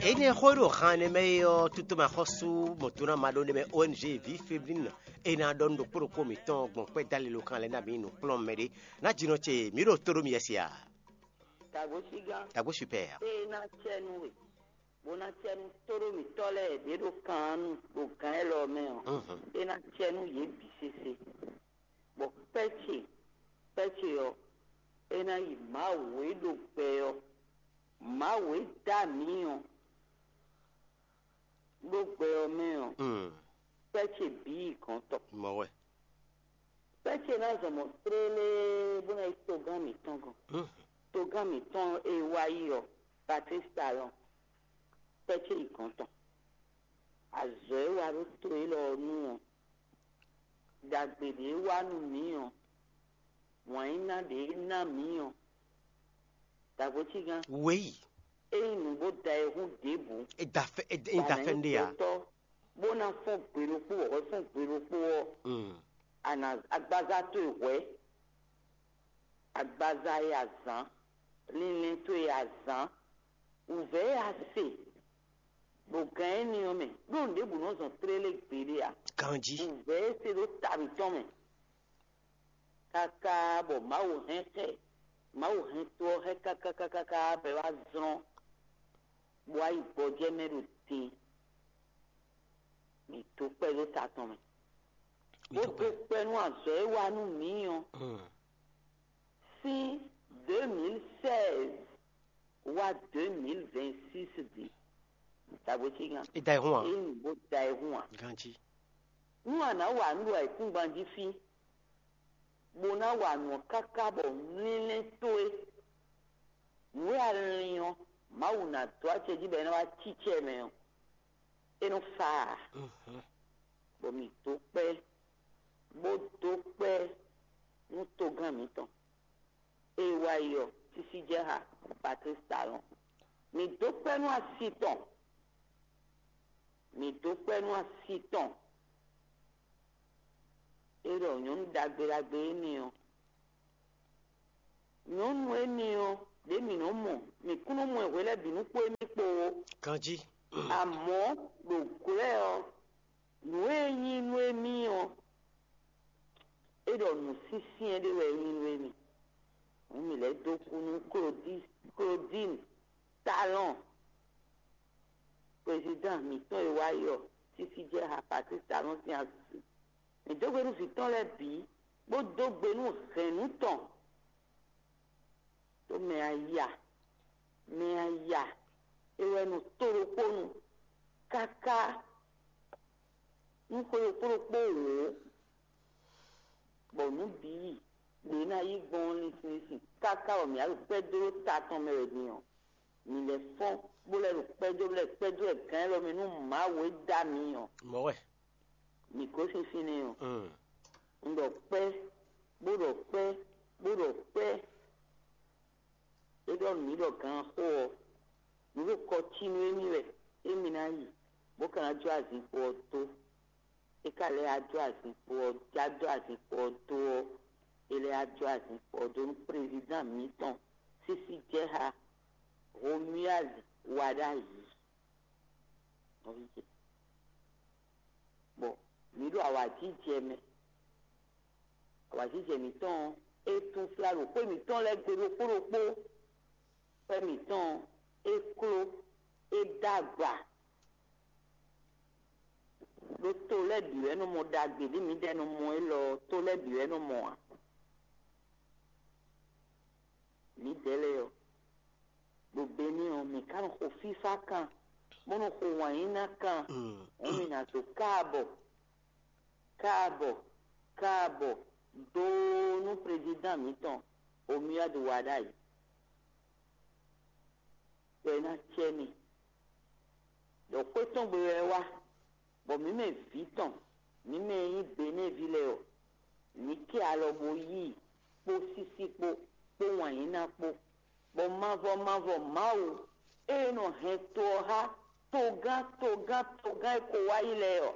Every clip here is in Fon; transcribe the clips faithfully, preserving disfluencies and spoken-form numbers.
Énɛ́ xó e ɖo han ɛnɛ mɛ é ɔ́, tutomɛxɔ́sú mɔ̌tɔn ná ma ɖó ɖ'é mɛ O N G Vie Féminine e ná ɖɔ nú ɖokpó ɖokpó mǐtɔn gbɔn kpɛ́ dó alilokán lɛ́ɛ ná bǐ nukplɔ́nmɛ ɖé ná jínɔ ce mǐ ɖo tó ɖó mi yɛ́ se a? Tagbo Super. Ée ná cɛ nú we, bó ná cɛ nú tóɖó mǐtɔn lɛ́ɛ ɖě ɖo kan nu ɖo gǎn élɔ́ mɛ ɔ́, é ná cɛ nú yě bǐ sésé. Bɔ kpɛ́ ce, kpɛ́ ce ɔ́, é ná yi Mawu e ɖo gbɛ ɔ́, Mawu e dó amǐ ɔ́, ɖó gbɛ ɔ́ mɛ ɔ́, kpɛ́ ce bǐ yi gɔ̌n tɔn. Mɔ̌ wɛ. Kpɛ́ ce ná zɔn mɔ̌ tlélé bó ná yi togán mǐtɔn gɔ́n. Togán mǐtɔn e wá yi ɔ́, Patlísi Talɔn, kpɛ́ ce yi gɔ̌n tɔn. Azɔ̌ e wa ɖó to élɔ́ ɔ́ nu ɔ́, ɖagbe ɖě e wa nú mǐ ɔ́, wǎn e ná ɖě e ná mǐ ɔ́, dǎgbó cígán. Wěyi. Ényí nǔ bó da e hún ɖěbǔ, e da fɛ e da fɛ ɖé a? Gbɛtɔ́ bó ná fɔ́n gbe ɖokpó, wɔ hwɛ fɔ́n gbe ɖokpó ɔ́, agbaza towe hwɛ̌, agbaza e azǎn, linlɛn towe e azǎn, wǔvɛ́ e a se ɖo gǎn énɛ́ ɔ́ mɛ, ɖó nǔɖébǔ nɔ zɔn tlélé gbeɖé ǎ. Ganjí. Wǔvɛ́ e se ɖó ta mǐtɔn mɛ, káká bɔ Mawu hɛn xɛ, Mawu hɛn to ɔ́ xɛ káká káká bɔ é wá zlɔ́n, bó wá yi gbɔjɛ́ mɛ ɖo din. Mǐ dó kpɛ́ ɖó ta tɔn mɛ, bó dó kpɛ́ nú azɔ̌ e wa nú mǐ ɔ́, sín deux mille seize wá deux mille vingt-six din. Dǎgbé cígan. É da ɛ hún ǎ. É nyí bó da ɛ hún ǎ. Ganjí. Nú a nǎ wa nǔ ɖo ayǐkúngban jí fí, bó ná wa nǔ ɔ́ káká bɔ mlílɛ́ towe, nǔ e a lin ɔ́, Mawu ná dó acɛ jí bɔ é ná wá cí cɛ mɛ ɔ́, é nɔ fa ǎ. Bɔ mǐ dó kpɛ́, bó dó kpɛ́ nú togán mǐtɔn e wá yi ɔ́, sísí jɛ xá Patlísi Talɔn. Mǐ dó kpɛ́ nú asi tɔn, mǐ dó kpɛ́ nú asi tɔn. É ɖɔ nyɔ̌nu ɖagbe ɖagbe énɛ́ ɔ́, nyɔ̌nu énɛ́ ɔ́, ɖě mǐ nɔ́ mɔ, mǐ kún nɔ́ mɔ ɛ hwe lɛ́ɛ bǐ nú kpó émí kpo ó. Ganjí. Amɔ̌, ɖo glɔ́ ɛ ɔ́, nǔ e nyí nú émí ɔ́, é ɖɔ nǔ syɛ́nsyɛ́n ɖé wɛ é nyí nú émí. Hǔn mǐ lɛ́ dó kú nú Klodín, Klodín Talɔn, prezidán mǐtɔn e wá yi ɔ́, sísí jɛ xá Patlísi Talɔn sín asi. Mǐ dó gbe nú vǐ tɔn lɛ́ɛ bǐ, bó dó gbe nú hɛ̌nnu tɔn. Ɖó mɛ aya, mɛ aya, é wɛ nɔ tó ɖokpó nu káká nú xwe ɖokpó ɖokpó wǒ, bɔ nǔ bǐ yi ɖě ná yí gbɔn ɔ́ linsin linsin káká bɔ mǐ wá ɖo kpɛ́ dó ɖó ta tɔn mɛ wɛ din ɔ́, mǐ lɛ́ fɔ́n bó lɛ́ ɖo kpɛ́ dó, bó lɛ́ kpɛ́ dó wɛ gǎn élɔ́ mɛ nú Mawu e dó amǐ ɔ́. Mɔ̌ wɛ. Mǐ gosín fínɛ́ ɔ́, un ɖɔ kpɛ́, bó ɖɔ kpɛ́, bó ɖɔ kpɛ́. É ɖɔ nǔ mǐ ɖɔ ganxó ɔ́, nǔ ɖo kɔ cí nú émí wɛ, émí ná yi, bó ka ná jó azinkpo ɔ́ dó. É ka lɛ́ wá jó azinkpo ɔ́, já jó azinkpo ɔ́ dó ɔ́, é lɛ́ wá jó azinkpo ɔ́ dó nú prezidán mǐtɔn sísí jɛ xá Romuald Wadagni. Nɔví ce, bɔ mǐ ɖo awǎjijɛ mɛ. Awǎjijɛ mǐtɔn ɔ́, é tún flá ɖo xwé mǐtɔn lɛ́ɛ gbe ɖokpó ɖokpó. Xwé mǐtɔn ɔ́, é kló, é dó agba. Ɖó to lɛ́ɛ bǐ wɛ nɔ mɔ ɖagbe ɖě mǐdɛɛ nɔ mɔ élɔ́ ɔ́, to lɛ́ɛ bǐ wɛ nɔ mɔ ǎ. Mǐdɛɛ lɛ́ɛ ɔ́, ɖo Benɛ́ ɔ́, mǐ ka nɔ xo fífá kan, bó nɔ xo wǎnyíná kan, hǔn mǐ ná dó káabɔ, káabɔ, káabɔ dó nú prezidán mǐtɔn Romuald Wadagni. Bɔ é ná cɛ mì, ɖɔ xwé tɔn gbe wɛ é wá, bɔ mǐ mɛ vǐ tɔn, mǐ mɛ e nyí Benɛ́ɛví lɛ́ɛ ɔ́, mǐ kɛ alɔ bó yí i kpó sísí kpó, kpó wǎnyíná kpó, bɔ mavɔ mavɔ Mawu e nɔ hɛn to ɔ́ xá togán togán togán e ko wá yi lɛ́ɛ ɔ́,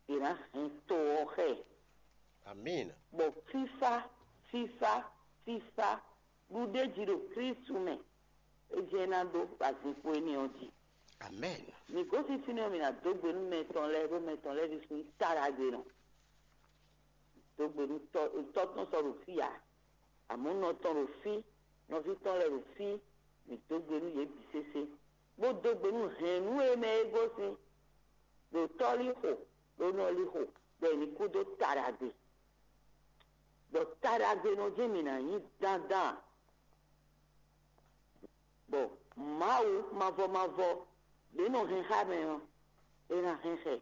è nǎ hɛn to ɔ́ xá ɛ. Amín. Bɔ fífá, fífá, fífá ɖu ɖ'é jí ɖo Klísu mɛ, é jɛ́n ná ɖó ɖo azinkpo énɛ́ ɔ́ jí. Amen. Mi gosín fínɛ́ ɔ́, mi ná dó gbe nú mɛ tɔn lɛ́ɛ, ɖó mɛ tɔn lɛ́ɛ ɖésú nyí taɖagbenɔ. Dó gbe nú tɔ́ tɔ́ tɔn sɔ́ ɖo fí ǎ, amɔ̌ nɔ tɔn ɖo fí, nɔví tɔn lɛ́ɛ ɖo fí. Mi dó gbe nú yě bǐ sésé, bó dó gbe nú hɛ̌nnu e mɛ é gosín, ɖo tɔ́ lixo, ɖo nɔ lixo, bɔ è ní kú dó taɖagbe. Bɔ taɖagbenɔ jɛ́n mǐ ná nyí dandan. Bɔ Mawu mavɔ mavɔ ɖě nɔ hɛn xá mɛ ɔ́, è nǎ hɛn xɛ.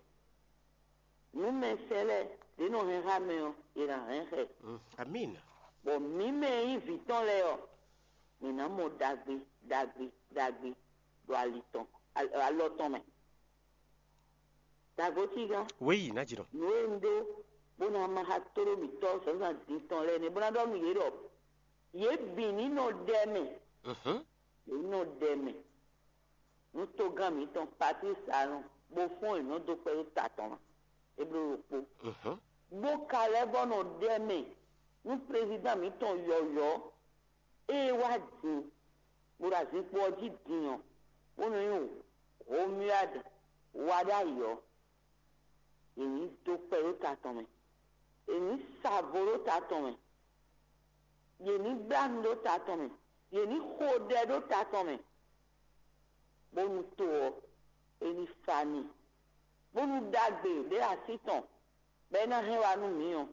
Nǔmɛsɛn lɛ́ɛ ɖě nɔ hɛn xá mɛ ɔ́, è nǎ hɛn xɛ. Mm, Amin. Bɔ mǐ mɛ e nyí vǐ tɔn lɛ́ɛ ɔ́, mǐ ná mɔ ɖagbe ɖagbe ɖagbe ɖo ali tɔn, al- alɔ tɔn mɛ. Dǎgotígán, Oui, Najinɔ. Nǔ e un ɖó bó ná ma xá tóɖó mǐtɔn zǎnzǎn din tɔn lɛ́ɛ nɛ́, bó ná ɖɔ nú yě ɖɔ yě bǐ ní nɔ ɖɛ mɛ. Mhm. Yě ní nɔ ɖɛ mɛ. Nú togán mǐtɔn Patlísi Alɔn bó fɔ́n yě nɔ dó kpɛ́ ɖó ta tɔn mɛ, é bló ɖokpó. Mhm. Bó ka lɛ́ vɔ́ nɔ ɖɛ mɛ nú prezidán mǐtɔn yɔ̌yɔ́ e wá din, bó ɖo azinkpo ɔ́ jí din ɔ́, bó nɔ nyí Romuald wa ɖ'ayǐ ɔ́, yě ní dó kpɛ ɖó ta tɔn mɛ; yě ní sa vo ɖó ta tɔn mɛ; yě ní blá nu ɖó ta tɔn mɛ; yě ní xo ɖɛ ɖó ta tɔn mɛ, bónú to ɔ́, é ní fa n'i, bónú ɖagbe ɖě así tɔn bɔ é ná hɛn wá nú mǐ ɔ́,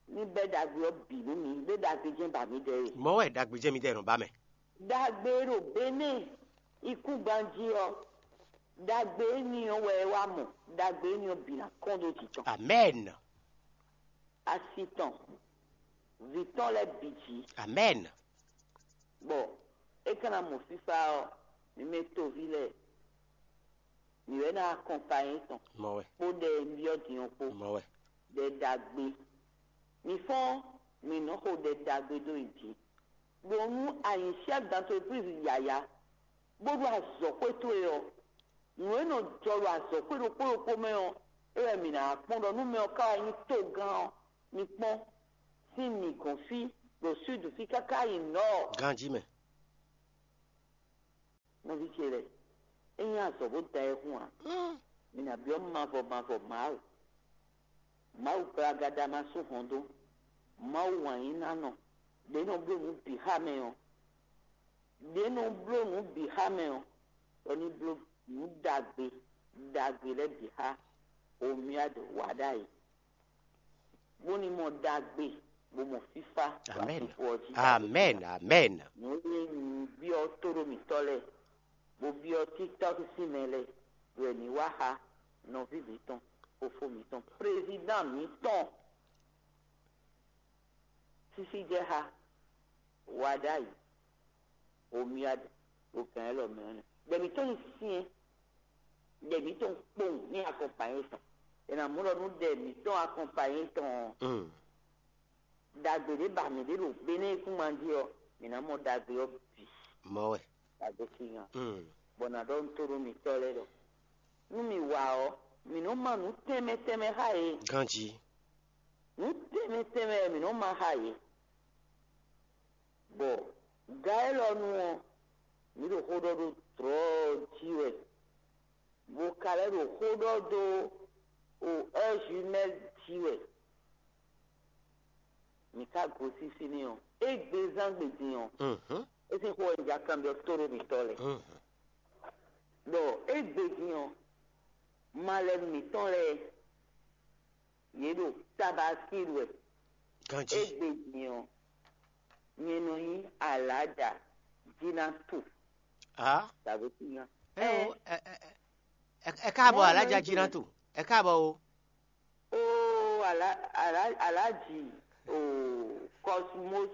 ní bɛ́ ɖagbe ɔ́ bǐ nú mǐ, ɖé ɖagbe jɛ́n ba mǐdɛɛ é. Mɔ̌ wɛ ɖagbe jɛ́n midɛɛ nɔ ba mɛ. Ɖagbe e ɖo Benɛ́ɛ ikúngban jí ɔ́, ɖagbe éní ɔ́ wɛ é wá mɔ; ɖagbe éní ɔ́ bǐ ná kɔn ɖó jǐ tɔn. Amɛn. Asi tɔn, vǐ tɔn lɛ́ɛ bǐ jí. Amɛn. Bɔ é ka ná mɔ fífá ɔ́, mi mɛ toví lɛ́ɛ, mi wɛ ná akɔnpanyé tɔn Mɔ̌ wɛ. Kpó ɖɛ e byɔ́ din ɔ́ kpó. Mɔ̌ wɛ. Ɖɛ ɖagbe. Mi fɔ́n, mi nɔ xo ɖɛ ɖagbe dó yi jí. Ɖo nú a nyǐ chef d'entreprise yǎyá, bó ɖó azɔ̌xwé towe ɔ́, nǔ e nɔ jɔ ɖo azɔ̌xwé ɖokpó ɖokpó mɛ ɔ́, é wɛ mǐ ná wá kpɔ́n ɖɔ nú mɛ ɔ́ ka wá nyí togán ɔ́, mi kpɔ́n sín mǐ gɔ́n fí ɖo súdu fí káká yi nɔ̌. Ganjí mɛ. Nɔví ce lɛ́ɛ, é nyí azɔ̌ bó da ayihún ǎ. Mi nǎ byɔ́ mavɔ mavɔ Mawu. Mawu gblagadá ma sú hɔn dó. Mawu wǎnyínánɔ, ɖě nɔ bló nǔ bǐ xá mɛ ɔ́, ɖě nɔ bló nǔ bǐ xá mɛ ɔ́, bɔ ní bló nǔ ɖagbe ɖagbe lɛ́ɛ bǐ xá Omiad wa ɖ'ayǐ, bó ní mɔ ɖagbe, bó mɔ fífá ɖo Amɛn. Afixo ɔ́ jí. Amɛn. Amɛn. Nǔ e nyí byɔ́ tóɖó mǐtɔn lɛ́ɛ, bó byɔ́ TikTɔ́k sín mɛ lɛ́ɛ, wɛ ní wá xá nɔví mǐtɔn, fofó mǐtɔn, prezidán mǐtɔn, sísí jɛ xá wa ɖ'ayǐ, Omiad ɖo gǎn élɔ́ mɛ ɔ́ nɛ́. Ɖɛ mǐtɔn nyí syɛ́n, ɖɛ mǐtɔn kpowun ní akɔnpanyé tɔn. È nǎ mɔ ɖɔ nú ɖɛ mǐtɔn akɔnpanyé tɔn ɔ́, Mm. Ɖagbe ɖé ba mǐ ɖe ɖo Benɛ́ kúnma jí ɔ́, mǐ ná mɔ ɖagbe ɔ́ bǐ. Mɔ̌ wɛ. Ɖagbe sín nya. Mm. Bɔ nǎ ɖɔ nú tóɖó mǐtɔn lɛ́ɛ ɖɔ nú mǐ wa ɔ́, mǐ nɔ́ ma nǔ tɛnmɛ tɛnmɛ xá yě. Ganjí. Nǔ tɛnmɛ tɛnmɛ wɛ mǐ nɔ́ ma xá yě. Bɔ ga élɔ́ nu ɔ́, mǐ ɖo xó ɖɔ ɖó dlɔ̌ ɔ́ jí wɛ, bó ka lɛ́ ɖo xó ɖɔ dó o heure jumelle jí wɛ. Mǐ ka gosín fínɛ́ ɔ́, égbé zán gbe din ɔ́, Mhm. É sín xó wɛ un ja kanbyɔ́ tóɖó mǐtɔn lɛ́ɛ. Mhm. Ɖɔ égbé din ɔ́, malɛnu mǐtɔn lɛ́ɛ, yě ɖo Tabaskil wɛ. Ganjí. Égbé din ɔ́, nyɛ nɔ nyí Alǎja Jinatu. Ah. Tàbí Tínya. Ẹ o, ẹ ẹ ẹ ẹ káàbọ̀ Mɔ̌ Alájà nɔ Jinatu. Ẹ káàbọ̀ o. Ó Alá- Alá- Alájì o Cosmos.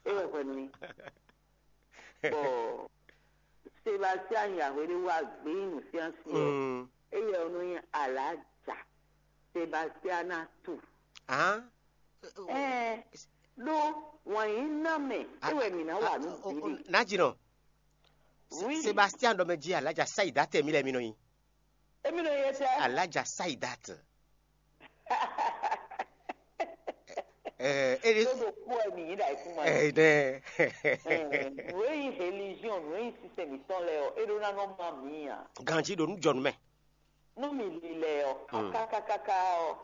É wɛ hwɛ mi. Bɔ Sebastian Yahweh ɖé wá gbé nyi nǔsyánsyán ɔ́. Mm. Éyɛ́ ɔ́ nɔ nyí Alǎja Sebastiana tu. Ah. Ɛɛ ɖó wǎnyíná mɛ é wɛ mǐ ná wa nú bǐɖe. Najinɔ. Oui. Sebastian ɖɔ mɛ jí Alájà Saida tɛ mí lɛ mí nɔ nyi. Émi nɔ yɛ tɛ. Alájà Saida tɛ. Ɛɛ, ele. Tó ɖo kú ɛ mǐ yí ɖa ikú ma. Ɛɛ, nɛ. Ɛɛ, wéyi religion. nǔ e nyí sinsɛn mǐtɔn lɛ́ɛ ɔ́, é ɖó ná nɔ má mǐ ǎ. Ganjí ɖo nǔ jɔ nú mɛ. Nú mǐ lilɛ ɔ́, kákákáká ɔ́,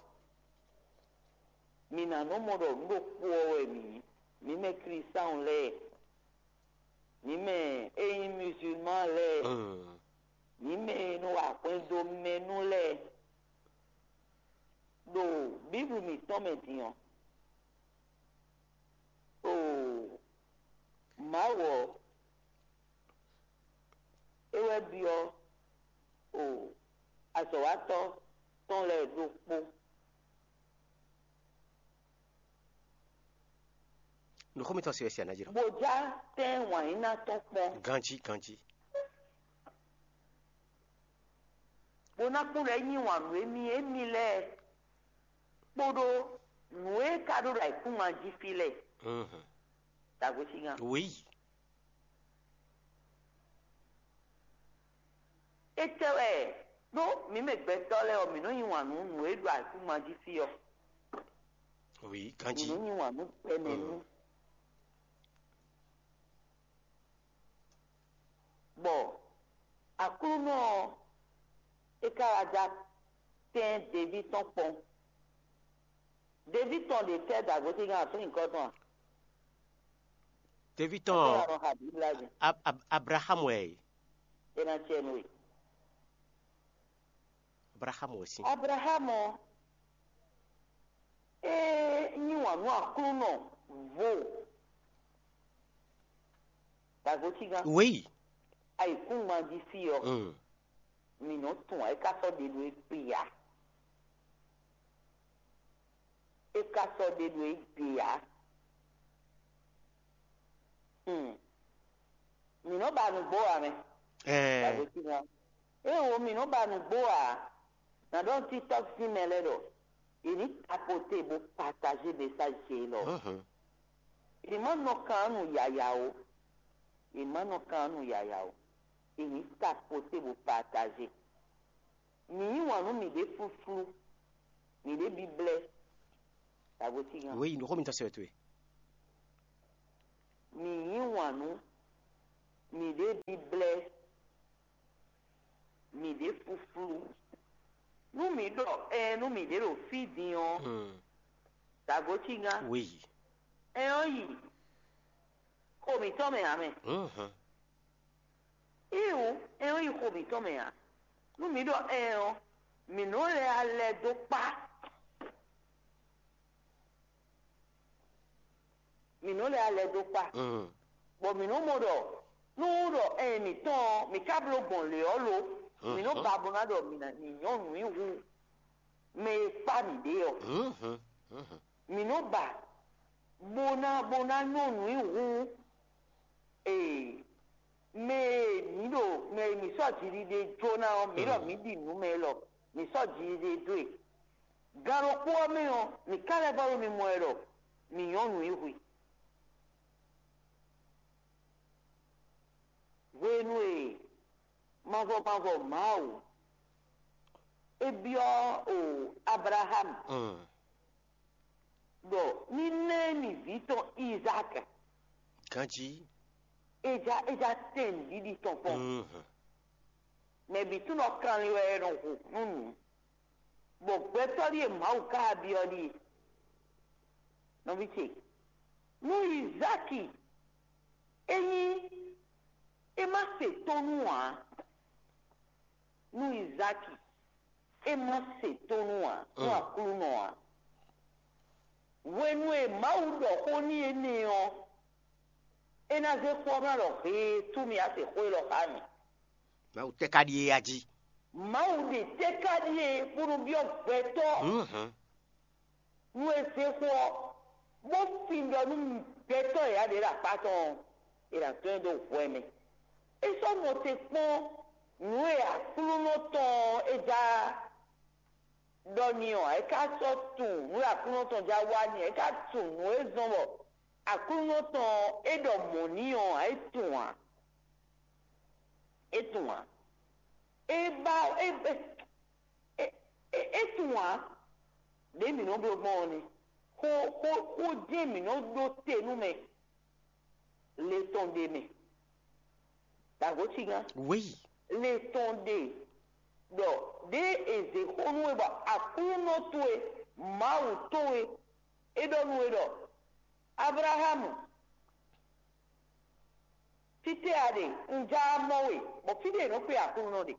mǐ ná nɔ mɔ ɖɔ nǔ ɖokpó ɔ́ wɛ mǐ nyí. Mǐ mɛ Klísáɔn lɛ́ɛ, mǐ mɛ e nyí muzulman lɛ́ɛ, mǐ mɛ e nɔ wa hwɛndo mɛ nú lɛ́ɛ. Ɖo Bíblu mǐtɔn mɛ din ɔ́, oo, Mawu ɔ́, é wɛ byɔ́, oo, azɔ̌watɔ́ tɔn lɛ́ɛ ɖokpó. Nǔxó mitɔn se wɛ se aná jí ɖɔ. Bó já tɛ́n wǎn nyíná tɔn kpɔ́n. Ganjí, ganjí. Bó ná kún ɖɔ é yí wǎn nú émí émí lɛ́ɛ kpódó nǔ e ka ɖó ɖo ayǐkúngban jí fí lɛ́ɛ. Mhm. Dǎgbésingan. Oui. Étɛ́ wɛ ɖó mǐ mɛ gbɛtɔ́ lɛ́ɛ ɔ́, mǐ nɔ́ yí wǎn nú nǔ e ɖo ayǐkúngban jí fí ɔ́. Oui, mǐ ganjí. Nɔ́ yí wǎn nú gbɛmɛ nú. Bɔ Aklúnɔ ɔ́, é ka wá já tɛ́n Deví tɔn kpɔ́n. Deví tɔn ɖě tɛ́ dǎgbésingan afín nyǐkɔ tɔn a? Deví tɔn Ɔ́, ɔ́, nɔ xa Bíbla jí. Ab- Ab- Abraxámu wɛ e. É ná cɛ nú we. Abraxámu wɛ sín. Abraxámu ɔ́, é yí wǎn nú Aklúnɔ vo. Dǎgbésingan. Oui. Ayǐkúngban jí fí ɔ́, Mm. mǐ nɔ́ tunwun ǎ, é ka sɔ́ ɖe ɖo égbé ǎ. É ka sɔ́ ɖe ɖo égbé ǎ. Hmm. Mǐ nɔ́ ba nǔgbó ǎ mɛ. Ɛɛ. Dǎgbésingan. Éewo, mǐ nɔ́ ba nǔgbó ǎ. Nǎ ɖɔ nú TikTok sín mɛ lɛ́ɛ ɖɔ yě ní tapoté bó partager message ce élɔ́. Mhm. Yě má nɔ kan nú yǎyá ó. Yě má nɔ kan nú yǎyá ó. Yě ní tapoté bó partager. Mǐ yí wǎn nú mǐɖée flúflú, mǐɖée bíblɛ́. Dǎgbésingan. Oui, nǔxó mitɔn se wɛ towe. Mǐ yí wǎn nú mǐɖée bíblɛ́, mǐɖée flúflú. Nú mǐ ɖɔ ɛɛ nú mǐɖée ɖo fí din ɔ́, Hmm. Dǎgbésingan. Oui. Ɛ ɔ́ yi xo mǐtɔn mɛ ǎ mɛ. Mhm. Iwu, ɛ ɔ́ yi xo mǐtɔn mɛ ǎ. Nú mǐ ɖɔ ɛɛ ɔ́, mǐ nɔ́ lɛ alɛ dó kpá. Mǐ nɔ́ lɛ alɛ dó kpá. Mm. Bɔ mǐ nɔ́ mɔ ɖɔ nú ɖɔ ɛɛ mǐtɔn ɔ́, mǐ ka bló gbɔn lě ɔ́ lo, mǐ nɔ́ Mhm. ba bó ná ɖɔ mǐ ná mǐ nyɔ́ nǔ nyi hú mɛ e kpá mǐ ɖe ɔ́. Mhm. Mhm. Mǐ nɔ́ ba bó ná bó ná nyɔ́ nǔ nyi hú ee mɛ e mǐ ɖo mɛ e mǐ sɔ́ jiɖiɖe jó ná ɔ́, mǐ ɖɔ Mm. mǐ ɖi nǔ mɛ élɔ́, mǐ sɔ́ jiɖiɖe dó e. Gan ɖokpó ɔ́ mɛ ɔ́, mǐ ka lɛ́ vɔ́ ɖo mimɔ wɛ ɖɔ mǐ nyɔ́ nǔ nyi hwi. Hwenu e mavɔ mavɔ Mawu é byɔ́ o Ablaxámu Mm. ɖɔ ní ná ɛ nyi vǐ tɔn Izáki, Ganjí. É já é já tɛ́n nǔɖiɖi tɔn kpɔ́n. Mhm. Mɛ bǐ tunwun ɖɔ kanlin wɛ è nɔ hu nú nǔ, bɔ gbɛtɔ́ ɖíe Mawu ka byɔ́ ɖíe. Nɔví ce, nú Izáki ényí é má se tónú ǎ, nú Izáki é má se tónú ǎ, nú Mm. Aklúnɔ ǎ, hwenu e Mawu ɖɔ xó n'i énɛ́ ɔ́, é ná zé xó ɔ́ ná ɖɔ heetú mì á se xó élɔ́ xá mì. Mawu tɛ́ ka ɖíe a jí? Mawu ɖe tɛ́ ka ɖíe bónú byɔ́ gbɛtɔ́ Mhm. nú é zé xó ɔ́, bó fin ɖɔ nú gbɛtɔ́ e yǎ ɖě ɖo akpá tɔn ɔ́, è nǎ dɔn ɛ dó hwɛ mɛ. É sɔ́ nɔ te kpɔ́n nǔ e Aklúnɔ tɔn ɔ́ é já ɖɔ n'i ɔ́, é ka sɔ́ tunwun nǔ e Aklúnɔ tɔn já wa n'i, é ka tunwun nǔ e zɔ́n bɔ Aklúnɔ tɔn ɔ́ é ɖɔ mɔ̌ n'i ɔ́ ǎ, é tunwun ǎ. É tunwun ǎ. É ba é é é é tunwun ǎ. Ɖě mǐ nɔ bló gbɔn ɔ́ nɛ́. Xó xó xó jɛ́n mǐ nɔ ɖó te nú mɛ le tɔn ɖe mɛ. Dǎgócígán. Wéyi. Le tɔn ɖe ɖɔ ɖěe è zě xó nú we bɔ Aklúnɔ towe, Mawu towe, é ɖɔ nú we ɖɔ: Ablaxámu, fítɛ́ a ɖe? Un já mɔ we, bɔ fí ɖé è nɔ kpé Aklúnɔ ɖe.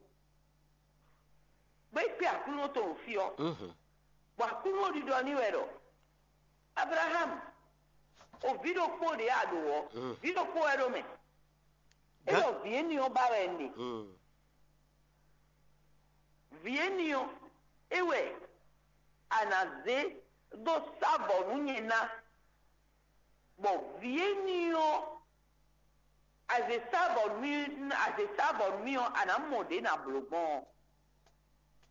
Bó é kpé Aklúnɔ tɔn ɖo fí ɔ́, bɔ Aklúnɔ ɖiɖɔ n'i wɛ ɖɔ: Ablaxámu, o vǐ ɖokpó ɖě a ɖǒ ɔ́, vǐ ɖokpó wɛ ɖo mɛ. É ɖɔ vǐ énɛ́ ɔ́ ba wɛ un ɖe. Vǐ énɛ́ ɔ́, é wɛ a nǎ zé dó sá vɔ̌ nú nyɛ ná, bɔ vǐ énɛ́ ɔ́, a zě sá vɔ̌ nú mì, a zě sá vɔ̌ nú mì ɔ́, a nǎ mɔ ɖě nǎ bló gbɔn ɔ́.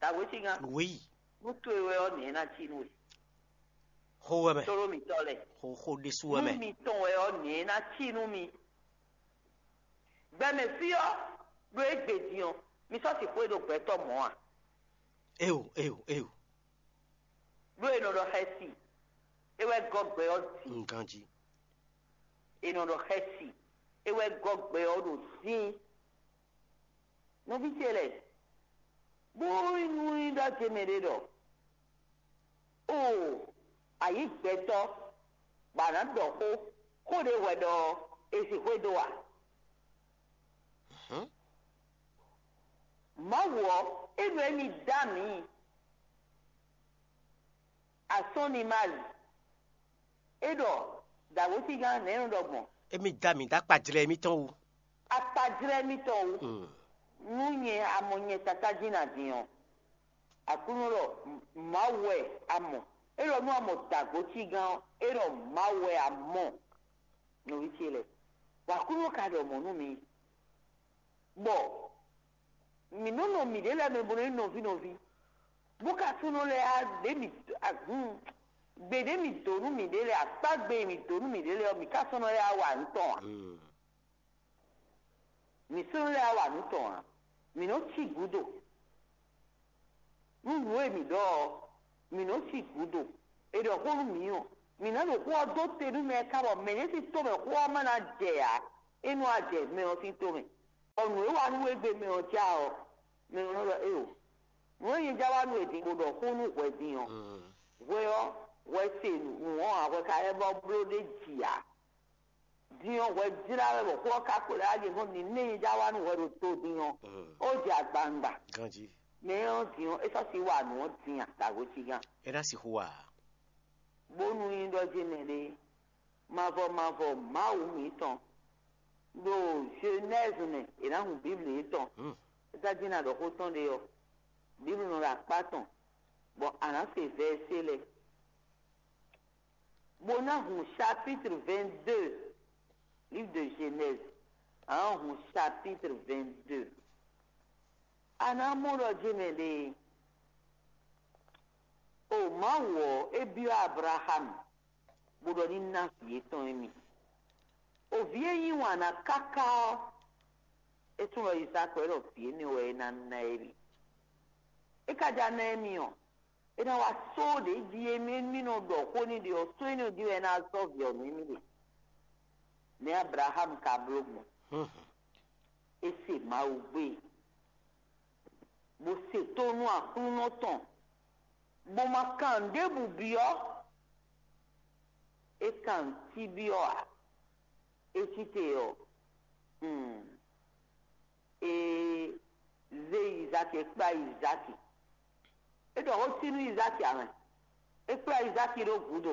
Dǎwécígán. Wéyi. Nú towe wɛ ɔ́, nɛ̌ ná cí nú we? Xó wɛ mɛ. Tlóló mǐtɔn lɛ́ɛ. Xó xó ɖésú wɛ mɛ. Nú mitɔn wɛ ɔ́, nɛ̌ ná cí nú mi? Gbɛmɛ fí ɔ́, ɖó égbé din ɔ́, mi sɔ́ sixú e ɖo gbɛtɔ́ mɔ̌ a? Eo, eo, eo. Ɖó è nɔ ɖɔ xɛsi, é wɛ gɔ́ gbɛ ɔ́ din. Nganjí. È nɔ ɖɔ xɛsi, é wɛ gɔ́ gbɛ ɔ́ ɖo dín. Nɔví ce lɛ́ɛ, bó nú nyí ɖɔ ce mɛ ɖé ɖɔ: O, a yǐ gbɛtɔ́, bɔ a nǎ ɖɔ xó, xó ɖě hwɛ ɖɔ ɔ́, è sixú e dó a? Mawu ɔ́, é ɖɔ émí dó amǐ. Asɔ́nimali, é ɖɔ dǎwétígán nɛ̌ nɔ ɖɔ gbɔn? Émí dó amǐ dó akpajlɛ́ émítɔn wú. Akpajlɛ́ émítɔn wú. Nú nyɛ a mɔ nyɛ Tatá jí ná din ɔ́, Aklúnɔ ɖɔ Mawu wɛ a mɔ. É ɖɔ nú a mɔ dǎgócígán ɔ́, é ɖɔ Mawu wɛ a mɔ. Nɔví ce lɛ́ɛ, bɔ Aklúnɔ ka ɖɔ mɔ̌ nú mi. Bɔ mǐ nɔ́ nɔ mǐɖée lɛ́ɛ mɛ bó nɔ́ nyí nɔví nɔví, bó ka sɔ́ nɔ lɛ́ ɖě mǐ hun gbe ɖě mǐ dǒ nú mǐɖée lɛ́ɛ, akpá gbe e mǐ dǒ nú mǐɖée lɛ́ɛ ɔ́, mǐ ka sɔ́ nɔ lɛ́ wá wa nǔ tɔn ǎ. Mǐ sɔ́ nɔ lɛ́ wá wa nǔ tɔn ǎ. Mǐ nɔ́ cí gǔdo nú nǔ e mǐ ɖɔ ɔ́, mǐ nɔ́ cí gǔdo. È ɖɔ xó nú mǐ ɔ́, mǐ ná ɖo xó ɔ́ dó te nú mɛ e ka bɔ mɛ̌ sín tomɛ xó ɔ́ ma ná jɛ ǎ. É nú a jɛ mɛ ɔ́ sín tomɛ. Bɔ nǔ e wa nú we gbe mɛ ɔ́ ja ɔ́, mɛ ɔ́ nɔ ɖɔ éeǒ. Nǔ e nyɛ ja wa nú we din bó ɖɔ xó nú hwɛ din ɔ́, hwɛ ɔ́, hwɛ se nǔ ɔ́ ǎ, hwɛ ka lɛ́ bɔ bló ɖ'é ji ǎ. Din ɔ́, hwɛ jlá wɛ bɔ xó ɔ́ ka ko lɛ́ wá ɖe hɔn din nú e nyɛ ja wa nú hwɛ ɖo to din ɔ́, ó jɛ agbawungba. Ganjí. Mɛ ɔ́ din ɔ́, é sɔ́ si wa nǔ ɔ́ din a, dǎgócígán. É ná sixú wa ǎ. Bónú nyí ɖɔ ce mɛ ɖé, mavɔ mavɔ Mawu mǐtɔn ɖo Genèse mɛ, è nǎ hun Bíbli yětɔn. Tají ná ɖɔ xó tɔn ɖe ɔ́, Bíbli nɔ ɖo akpá tɔn, bɔ a nǎ se vɛ̌sé lɛ́ɛ, bó ná hun chapitre vingt-deux, livre de Genèse, a nǎ hun chapitre vingt-deux. A nǎ mɔ ɖɔ jɛ́n mɛ ɖe, o Mawu ɔ́, é byɔ́ Ablaxámu, bó ɖɔ ní ná vǐ yětɔn émí. O vǐ e yí wǎn ná káká ɔ́, é tunwun ɖɔ Izáki wɛ ɖɔ vǐ énɛ́ wɛ é ná ná émí. É ka ja ná émí ɔ́, é ná wá só ɖě jí émí émí nɔ ɖɔ xó n'i ɖe ɔ́, só énɛ́ jí wɛ é ná zɔ́n vǐ ɔ́ nú émí ɖe. Nɛ̌ Ablaxámu ka bló gbɔn? É se Mawu gbe, bó se tónú Aklúnɔ tɔn, bó ma kan nǔɖébǔ byɔ́. É kan nǔ cí byɔ́ ǎ. É cí te ɔ́, é zé Izáki, é kplá Izáki. É ɖɔ xó cí nú Izáki ǎ mɛ. É kplá Izáki ɖó gǔdo,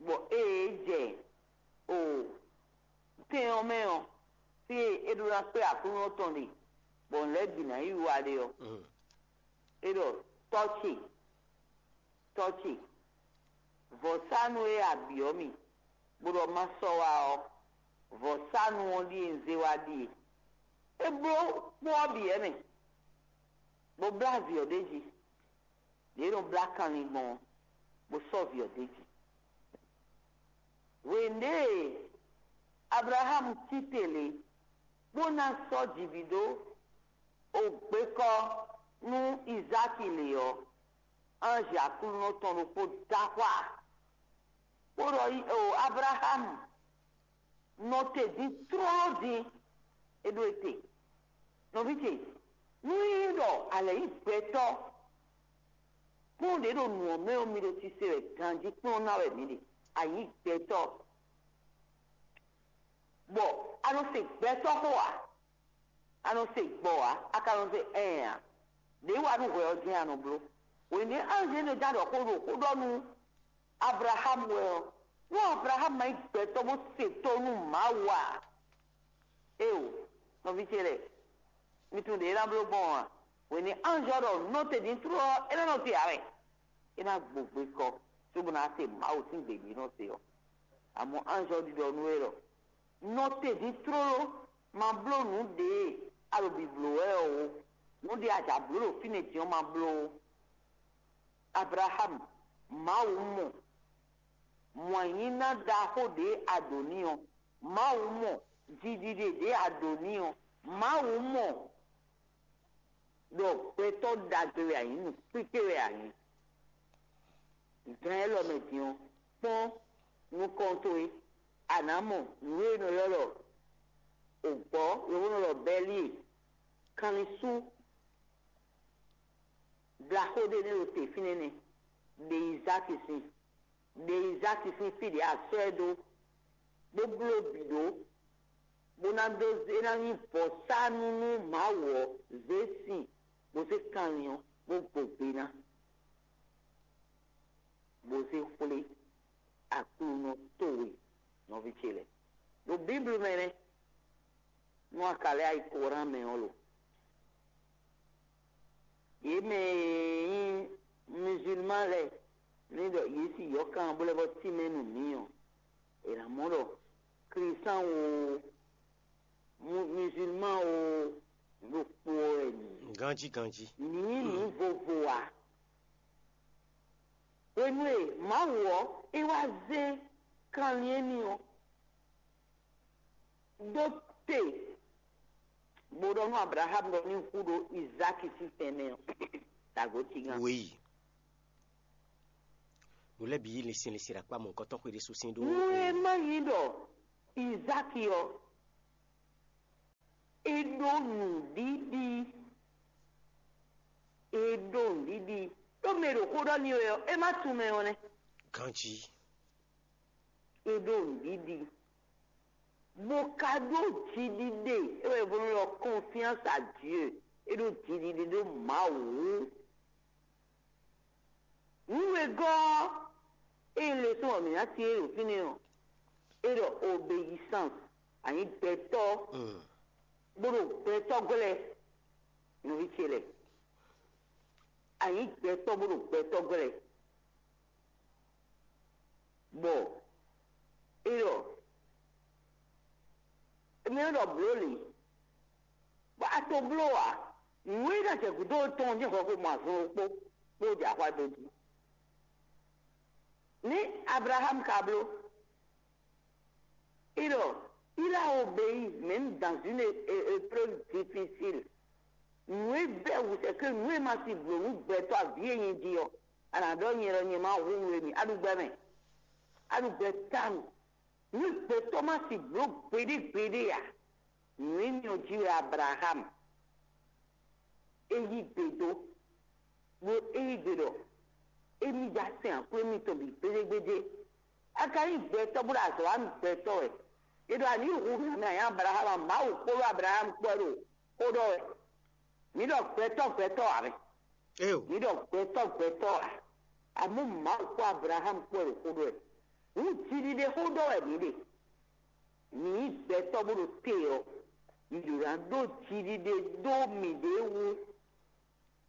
bɔ ée é jɛ o tɛn ɔ́ mɛ ɔ́, fí e é ɖó ná kpé Aklúnɔ tɔn ɖe, bɔ nǔ lɛ́ɛ bǐ ná yi wá ɖe ɔ́, é ɖɔ: Tɔ́ ce, Tɔ́ ce, vɔ̌sánu e a byɔ́ mì, bó ɖɔ má sɔ́ wá ɔ́, vɔ̌sánu ɔ́ ɖíe un zé wá ɖíe. É bló kpó ɔ́ bǐ wɛ mɛ, bó blá vǐ ɔ́ ɖ'é jí. Lě e è nɔ blá kanlin gbɔn ɔ́, bó sɔ́ vǐ ɔ́ d'é jí. Hwěɖée e Ablaxámu cí te lě, bó ná sɔ́ jǐ bǐ dó ogbékɔ́ nú Izáki lě ɔ́, anji Aklúnɔ tɔn ɖokpó dó axwá, bó ɖɔ: Ablaxámu, nɔ te din tlóló din, É ɖó ete. Nɔví ce, nú é ɖɔ a lɛ̌ nyí gbɛtɔ́, kpɔ́n ɖě ɖo nǔ ɔ́ mɛ ɔ́, mi ɖo sise wɛ ganjí kplɔ́n ná wɛ mǐ ɖe. A nyǐ gbɛtɔ́, bɔ a nɔ se gbɛtɔ́ xó ǎ, a nɔ se gbɔ ǎ, a ka nɔ se ɛn ǎ. Đě wa nú hwɛ ɔ́ jɛ́n a nɔ bló. Hwěnɛ́ anjelu nɔ ján ɖɔ xó ɖo xó ɖɔ nú Ablaxámu wɛ ɔ́, nú Ablaxámu ma nyí gbɛtɔ́ bó se tónú Mawu ǎ, éeǒ, nɔví ce lɛ́ɛ, mi tunwun ɖě é ná bló gbɔn ɔ́ a? Hwenu e anjɔ ɖɔ nɔte din tlóló ɔ́, é ná nɔ te ǎ wɛ. É ná gbo gbe kɔ, cóbó ná se Mawu sín gbe ɖě nɔ se ɔ́. Amɔ̌ anjɔ ɖiɖɔ nú we ɖɔ: nɔte din tlóló, ma bló nǔ ɖě a ɖo bǐbló wɛ ɔ́ ó. Nǔ ɖě a jǎ bló ɖo fínɛ́ din ɔ́, ma bló ó. Ablaxámu, Mawu mɔ mɔ̌nyíná ɖaxó ɖě a ɖǒ n'i ɔ́. Mawu mɔ jiɖiɖe ɖě a ɖǒ n'i ɔ́. Mawu mɔ ɖɔ gbɛtɔ́ ɖagbe wɛ a nyǐ, nǔkpíkpé wɛ a nyǐ. Gan élɔ́ mɛ din ɔ́, kpɔ́n nukɔn towe, a nǎ mɔ nǔ e è nɔ ylɔ́ ɖɔ ògbɔ̌, yovónɔ ɖɔ bɛ́lí e, kanlin sú, blaxó ɖé nɛ́ ɖo te fínɛ́ nɛ́, ɖe Izáki sin, ɖe Izáki sín fí ɖě a sɔ́ ɛ dó, bó bló bǐ ɖó, bó ná dó é ná nyí vɔ̌sánú nú Mawu ɔ́, zě sin, bó zé kanlin ɔ́, bó gbo gbe ná, bó zé xwlé Aklúnɔ towe, nɔví ce lɛ́ɛ. Ɖo Bíblu mɛ nɛ́, nú a ka lɛ́ ayi Koran mɛ ɔ́ lo? Yě mɛ e nyí mizilman lɛ́ɛ ní ɖɔ yě sin yɔ̌kan bó lɛ́ vɔ́ tínmɛ nú mǐ ɔ́, è nǎ mɔ ɖɔ Klísan oo, mizilman oo, nǔ ɖokpó wɛ mǐ nyí. Ganjí ganjí. Mǐ nyí nǔ vovo ǎ. Hwenu e Mawu ɔ́, é wá zé kanlin émí ɔ́ dó te, bó ɖɔ nú Ablaxámu ɖɔ ní hu ɖo Izáki sín tɛnmɛ ɔ́, tago tigan. Wěyi. Nǔ lɛ́ɛ bǐ yí linsin linsin ɖo akpá mɔ̌hunkɔtɔn xwé ɖésú sín ɖó. Nú é má nyí ɖɔ Izáki ɔ́, é ɖó nǔɖiɖi, é ɖó nǔɖiɖi, ɖó mɛ e ɖo xó ɖɔ n'i wɛ ɔ́, é má tunwun mɛ ɔ́ nɛ́. Ganjí. É ɖó nǔɖiɖi, bó ka ɖó jiɖiɖe, é wɛ è nɔ ylɔ́ confiance à Dieu. É ɖó jiɖiɖe ɖó Mawu wú. Nǔ e gɔ́ ɔ́, ée un le sɔ́ ɔ́, mǐ ná cyɔ́n ɛ ɖo fínɛ́ ɔ́, é ɖɔ obéissance, a nyǐ gbɛtɔ́, bó ɖo gbɛtɔ́ glɛ́, nɔví ce lɛ́ɛ, a nyǐ gbɛtɔ́ bó ɖo gbɛtɔ́ glɛ́, bɔ é ɖɔ, mǐ nɔ ɖɔ blǒ lě, bɔ a to bló ǎ. Nǔ e ná jɛ gǔdo tɔn ɔ́ jɛ́n hwɛxwé mɔ azɔn ɖokpó, bó jɛ axwá dó jí. Nɛ̌ Ablaxámu ka bló? É ɖɔ: Il a obéi, même dans une é- épreuve difficile. Nǔ e bɛ́ wǔ sɛ́ ke nǔ e ma si blǒ nú gbɛtɔ́ avǐ e nyɛ jí ɔ́, a nǎ ɖɔ nyɛ ɖɔ nyɛ ma hu nú émí. A ɖu gbɛ mɛ. A ɖu gbɛ tawun. Nú gbɛtɔ́ ma si blǒ gbeɖé gbeɖé ǎ, nǔ énɛ́ ɔ́ jí wɛ Ablaxámu é yí gbe dó, bó é yí gbe ɖɔ émí ja sɛn aklúnɔ émítɔn bǐ gbéjégbéjé. A ka nyí gbɛtɔ́ bó ɖo azɔ̌ wa nú gbɛtɔ́ wɛ. É ɖɔ a nǐ hu nǔ nú anyǎ Ablaxámu a? Mawu kpódó Ablaxámu kpó wɛ ɖo xó ɖɔ wɛ. Mǐ ɖɔ gbɛtɔ́ gbɛtɔ́ ǎ mɛ. Éyo. Mǐ ɖɔ gbɛtɔ́ gbɛtɔ́ ǎ. Amɔ̌ Mawu kpó Ablaxámu kpó wɛ ɖo xó ɖɔ wɛ. Nǔ jiɖiɖe xó ɖɔ wɛ mǐ ɖe. Mǐ nyí gbɛtɔ́ bó ɖo te ɔ́, mǐ ɖo ná ɖó jiɖiɖe dó mǐɖée wú.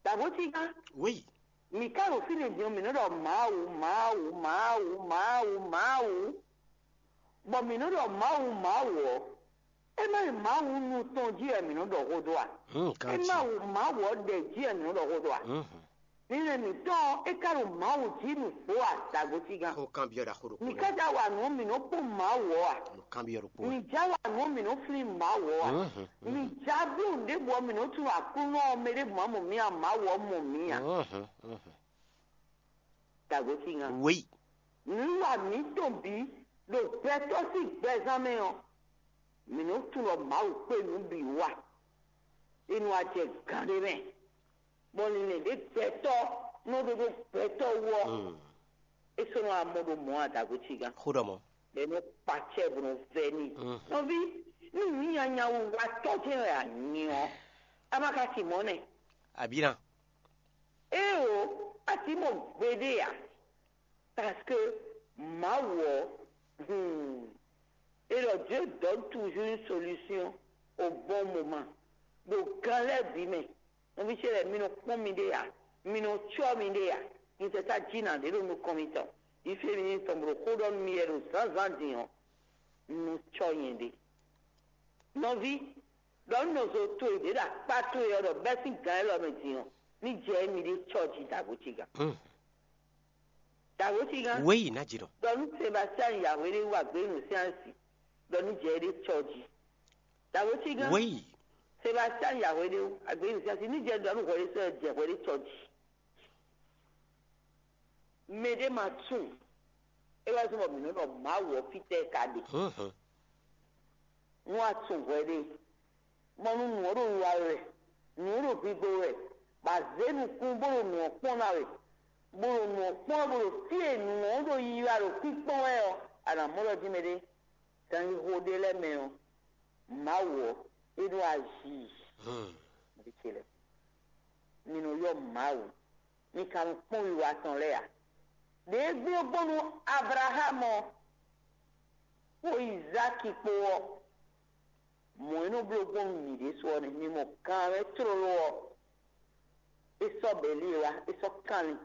Dǎgbó cígán. Oui. Mǐ ka ɖo fínɛ́ din ɔ́, mǐ nɔ ɖɔ Mawu, Mawu, Mawu, Mawu, Mawu, bɔ mǐ nɔ ɖɔ Mawu, Mawu ɔ́, é má nyí Mawu nu tɔn jí wɛ mǐ nɔ ɖɔ xó dó a? Hmm, é má nyí Mawu ɔ́ ɖɛ jí wɛ mǐ nɔ ɖɔ xó dó a? Mhm. Nínú mǐtɔn ɔ́, é ka ɖo Mawu jí nǔgbó a? Dǎgbó cígán. Xó kanbyɔ́ ɖaxó ɖokpó. Mǐ ka ja wa nǔ ɔ́, mǐ nɔ kpɔ́n Mawu ɔ́ a? Nǔ kanbyɔ́ ɖokpó. Mǐ ja wa nǔ ɔ́, mǐ nɔ flín Mawu ɔ́ a? Mhm, mǐ ja bló nǔɖébǔ ɔ́, mǐ nɔ tunwun Aklúnɔ ɔ́, mɛ ɖěbǔ ma mɔ mǐ a? Mawu ɔ́ mɔ mǐ a? Mhm, mhm. Dǎgbó cígán. Oui. Nǔwiwa mǐtɔn bǐ ɖo gbɛtɔ́ sín gbɛzán mɛ ɔ́, Mǐ nɔ tunwun ɖɔ Mawu kpé nǔ bǐ wa. É nɔ wá jɛ gǎn ɖé mɛ, bɔ linlɛn ɖě gbɛtɔ́ nɔ ɖó ɖó gbɛtɔ́ wú ɔ́, é sɔ́ nɔ wá mɔ ɖó mɔ̌ adǎgotígán. Xó ɖɔ mɔ̌. Bɔ é nɔ kpa acɛ bó nɔ vɛ́ n'i. Nɔví, nú nǔ nyanya wú watɔ́ jɛ́n wɛ a nyí ɔ́, a ma ka sin mɔ̌ nɛ́. Abǐ ná. Éeǒ, a sǐ mɔ gbeɖé ǎ, parce que Mawu ɔ́, hmm, et le Dieu donne toujours une solution au bon moment. Ɖo gan lɛ́ɛ bǐ mɛ, nɔví ce lɛ́ɛ, mi nɔ kpɔ́n miɖée ǎ, mi nɔ cyɔ́ miɖée ǎ. Mi tɛ tá jí nǎ ɖě ɖo nukɔn mitɔn, yi fí e mi ní tɔn bó ɖo xó ɖɔ nú mi wɛ ɖo zǎnzǎn din ɔ́, un nɔ cyɔ́ nyɛɖée. Nɔví, ɖɔ nú nɔzo towe ɖě ɖo akpá towe ɔ́ ɖɔ bɛ́ sín gǎn élɔ́ mɛ din ɔ́, ní jɛ émí ɖé cɔ́ jí dǎgócígán. Dǎgócígán, Wéyi ná jǐ nɔ. Ɖɔ nú Sebastiyani Yahweh ɖé wú agběnu sín asi, ɖɔ ní jɛ éɖée cɔ́ jí. Dǎgócígán, Wéyi. Sebastiyani Yahweh ɖé wú agběnu sín asi, ní jɛ ɖɔ nú hwɛɖésɛ́ jɛ hwɛɖé cɔ́ jí. Mɛ ɖé ma tunwun. É wá zɔ́n bɔ mǐ nɔ́ ɖɔ Mawu ɔ́ fítɛ́ ka ɖe. Nú a tunwun hwɛɖée, bɔ nú nǔ ɔ́ ɖo wiwa we wɛ, nǔ ɔ́ ɖo gbigbo we wɛ, bɔ a zě nukún bó ɖo nǔ ɔ́ kpɔ́n ná we, bó ɖo nǔ ɔ́ kpɔ́n wɛ, bó ɖo fí e nǔ ɔ́ ɖo yiyi wɛ, a ɖo kpínkpɔ́n wɛ ɔ́, a nǎ mɔ ɖɔ jí mɛɖé ganxixo ɖé lɛ́ɛ mɛ ɔ́, Mawu ɔ́, é ɖo azi. Vǐ ce lɛ́ɛ, mi nɔ ylɔ́ Mawu, mi ka nɔ kpɔ́n wiwa tɔn lɛ́ɛ ǎ. Ɖě gbé ɔ́ gbɔn nú Ablaxámu ɔ́, kpó Izáki kpó ɔ́, mɔ̌ e nɔ bló gbɔn nú mǐ ɖésú ɔ́ nɛ́. Mi mɔ gan ɔ́ mɛ tlóló ɔ́, é sɔ́ bɛ̌li e wá, é sɔ́ kanlin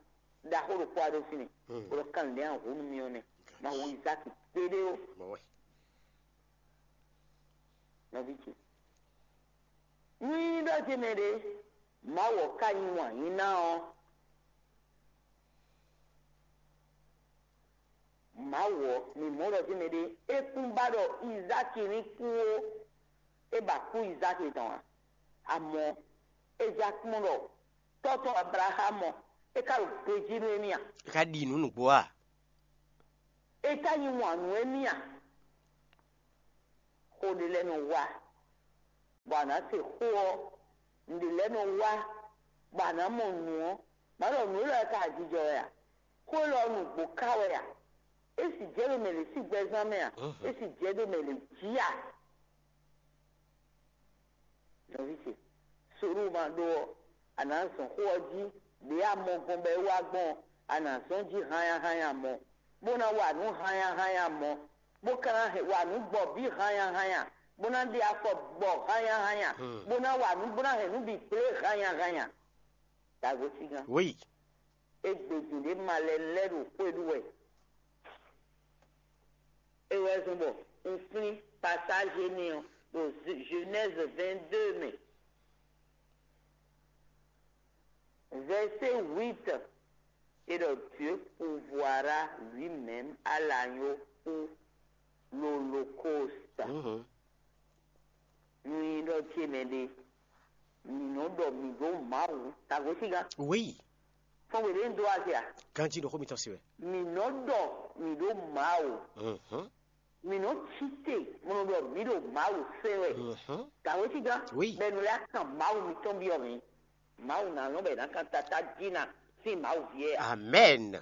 ɖaxó ɖokpó wá ɖó fínɛ́, bó ɖɔ kanlin ɖě a hǔ nú mì ɔ́ nɛ́, ma hu Izáki kpéɖé ó. Nɔví ce, nú nyí ɖɔ ce mɛ ɖé, Mawu ɔ́ ka nyí wǎn yí ná ɔ́, Mawu ɔ́, mǐ mɔ ɖɔ jɛ́n mɛɖé é kún ba ɖɔ Izáki ní kú ó, é ba kú Izáki tɔn ǎ. Amɔ̌, é já kpɔ́n ɖɔ tɔ́ tɔn Ablaxámu ɔ́, é ka ɖo gbejí nú émí a? É ka ɖi nǔ nǔgbó a? É ka yí wǎn nú émí a? Xó ɖé lɛ́ɛ nɔ wá, bɔ a nǎ se xó ɔ́, nǔɖé lɛ́ɛ nɔ wá, bɔ a nǎ mɔ nǔ ɔ́, má ɖɔ nǔ élɔ́ ka jijɔ wɛ a? Xó élɔ́ nǔgbó ka wɛ a? É sì jɛ ɖo mɛ lě sín gbɛzán mɛ a? É sì jɛ ɖo mɛ lě jí a? Nɔví ce, Sodóma ɖó ɔ́, a nǎ zɔn xó ɔ́ jí, ɖě a mɔ gbɔn bɔ é wá gbɔn ɔ́, a nǎ zɔn jí hányáhányá mɔ, bó ná wa nǔ hányáhányá mɔ, bó ka ná wa nǔ gbɔ bǐ hányáhányá, bó ná ɖe afɔ gbɔ hányáhányá, bó ná wa nǔ, bó ná hɛn nǔ bǐ gblé hányáhányá. Dǎgosígán. Oui. Égbé din ɖě malɛnu lɛ́ɛ ɖo xwé ɖu wɛ. É wɛ zɔ́n bɔ un flín pasáje n'i ɔ́ ɖo Genèse vingt-deux mɛ. Verset huit, et donc Dieu pourvoira lui-même à l'agneau pour l'holocauste. Nú nyí ɖɔ ce mɛ ɖe, mǐ nɔ ɖɔ mǐ ɖó Mawu tagosígán. Oui. Fɔ́n gbe ɖě un dó azɛ a? Ganjí ɖo xó mitɔn se wɛ. Mǐ nɔ ɖɔ mǐ ɖó Mawu. Mhm. Mǐ nɔ cí te, mɔ nɔ ɖɔ mǐ ɖo Mawu se wɛ. Mhm. Tagosígán. Oui. Bɛnu lɛ́ kan Mawu mitɔn byɔ́ mǐ. Mawu ná lɔn bɔ è nǎ kan tatá jí ná sín Mawu ví ɛ a? Amɛn.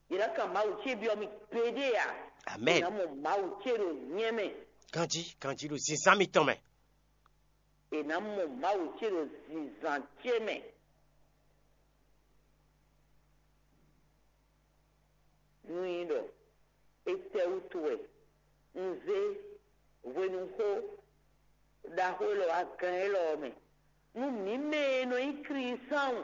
È nǎ kan Mawu ce byɔ́ mì gbeɖé a? Amɛn. È nǎ mɔ Mawu ce ɖo nyɛ mɛ. Ganjí, ganjí ɖo zǐnzán mitɔn mɛ. È nǎ mɔ Mawu ce ɖo zǐnzán ce mɛ. Nú nyí ɖɔ étɛ́wútu wɛ un zé hwenuxó ɖaxó élɔ́ wá gán élɔ́ ɔ́ mɛ? Nú mǐ mɛ e nɔ nyí klísán,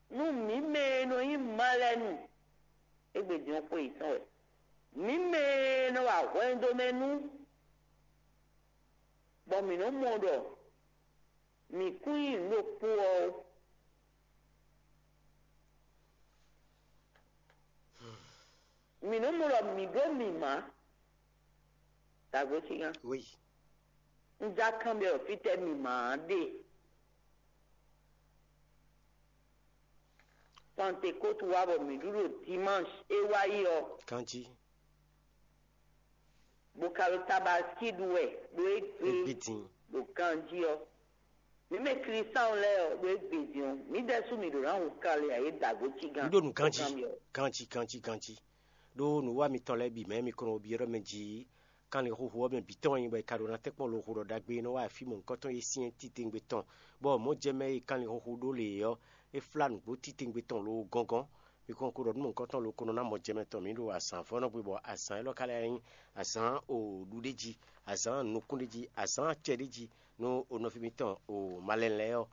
nú mǐ mɛ e nɔ nyí malɛnu, égbé din ɔ́ xwe yětɔn wɛ. Mǐ mɛ e nɔ wa hwɛndo mɛ nú, bɔ mǐ nɔ mɔ ɖɔ mǐ kún nyí nǔ ɖokpó ɔ́ ó. Mǐ nɔ mɔ ɖɔ mǐ ɖó mǐmá. Dǎgosígán. Oui. Un já kanbyɔ́ ɖɔ fítɛ́ mǐmá ɔ́ ɖe. Pantekótu wá bɔ mǐ ɖu ɖo dimanche é wá yi ɔ́. Kanjí. Bó ka ɖo tabaski ɖu wɛ ɖo égbé Égbé din. Ɖo ganjí ɔ́. Mǐ mɛ Klísáɔn lɛ́ɛ ɔ́, ɖo égbé din ɔ́, mǐ ɖɛ́sú mǐ ɖo ná hu kanlin ayé dǎgó cí gán. Nǔ ɖo nǔ ganjí, ganjí, ganjí, ganjí. Ɖó nǔwiwa mitɔn lɛ́ɛ bǐ mɛ mi kɔn nɔ byɔ́ ɖɔ mɛ jí kanlin huhu ɔ́ mɛ bǐ tɔn wɛ nyí bɔ è ka ɖo ná tɛ́nkpɔ́n loxo ɖɔ ɖagbe e nɔ wá afí mɔ̌hunkɔtɔn e syɛ́n titewungbe tɔn, bɔ mɔ̌ jɛ mɛ e kanlin huhu ɖó lě ɔ́, é flá nǔgbó titewungbe tɔn loo gɔ́ngɔ́n. Mi kɔn ko ɖɔ nú mɔ̌hunkɔtɔn loo ko nɔ ná mɔ jɛ mɛ tɔn mǐ ɖo azǎn vɔ́ nɔ gbe, bɔ azǎn élɔ́ ka lɛ́ nyí azǎn o ɖuɖéji, azǎn nukúnɖéji, azǎn acɛ ɖé jí nú o nɔví mitɔn o malɛn lɛ́ɛ ɔ́,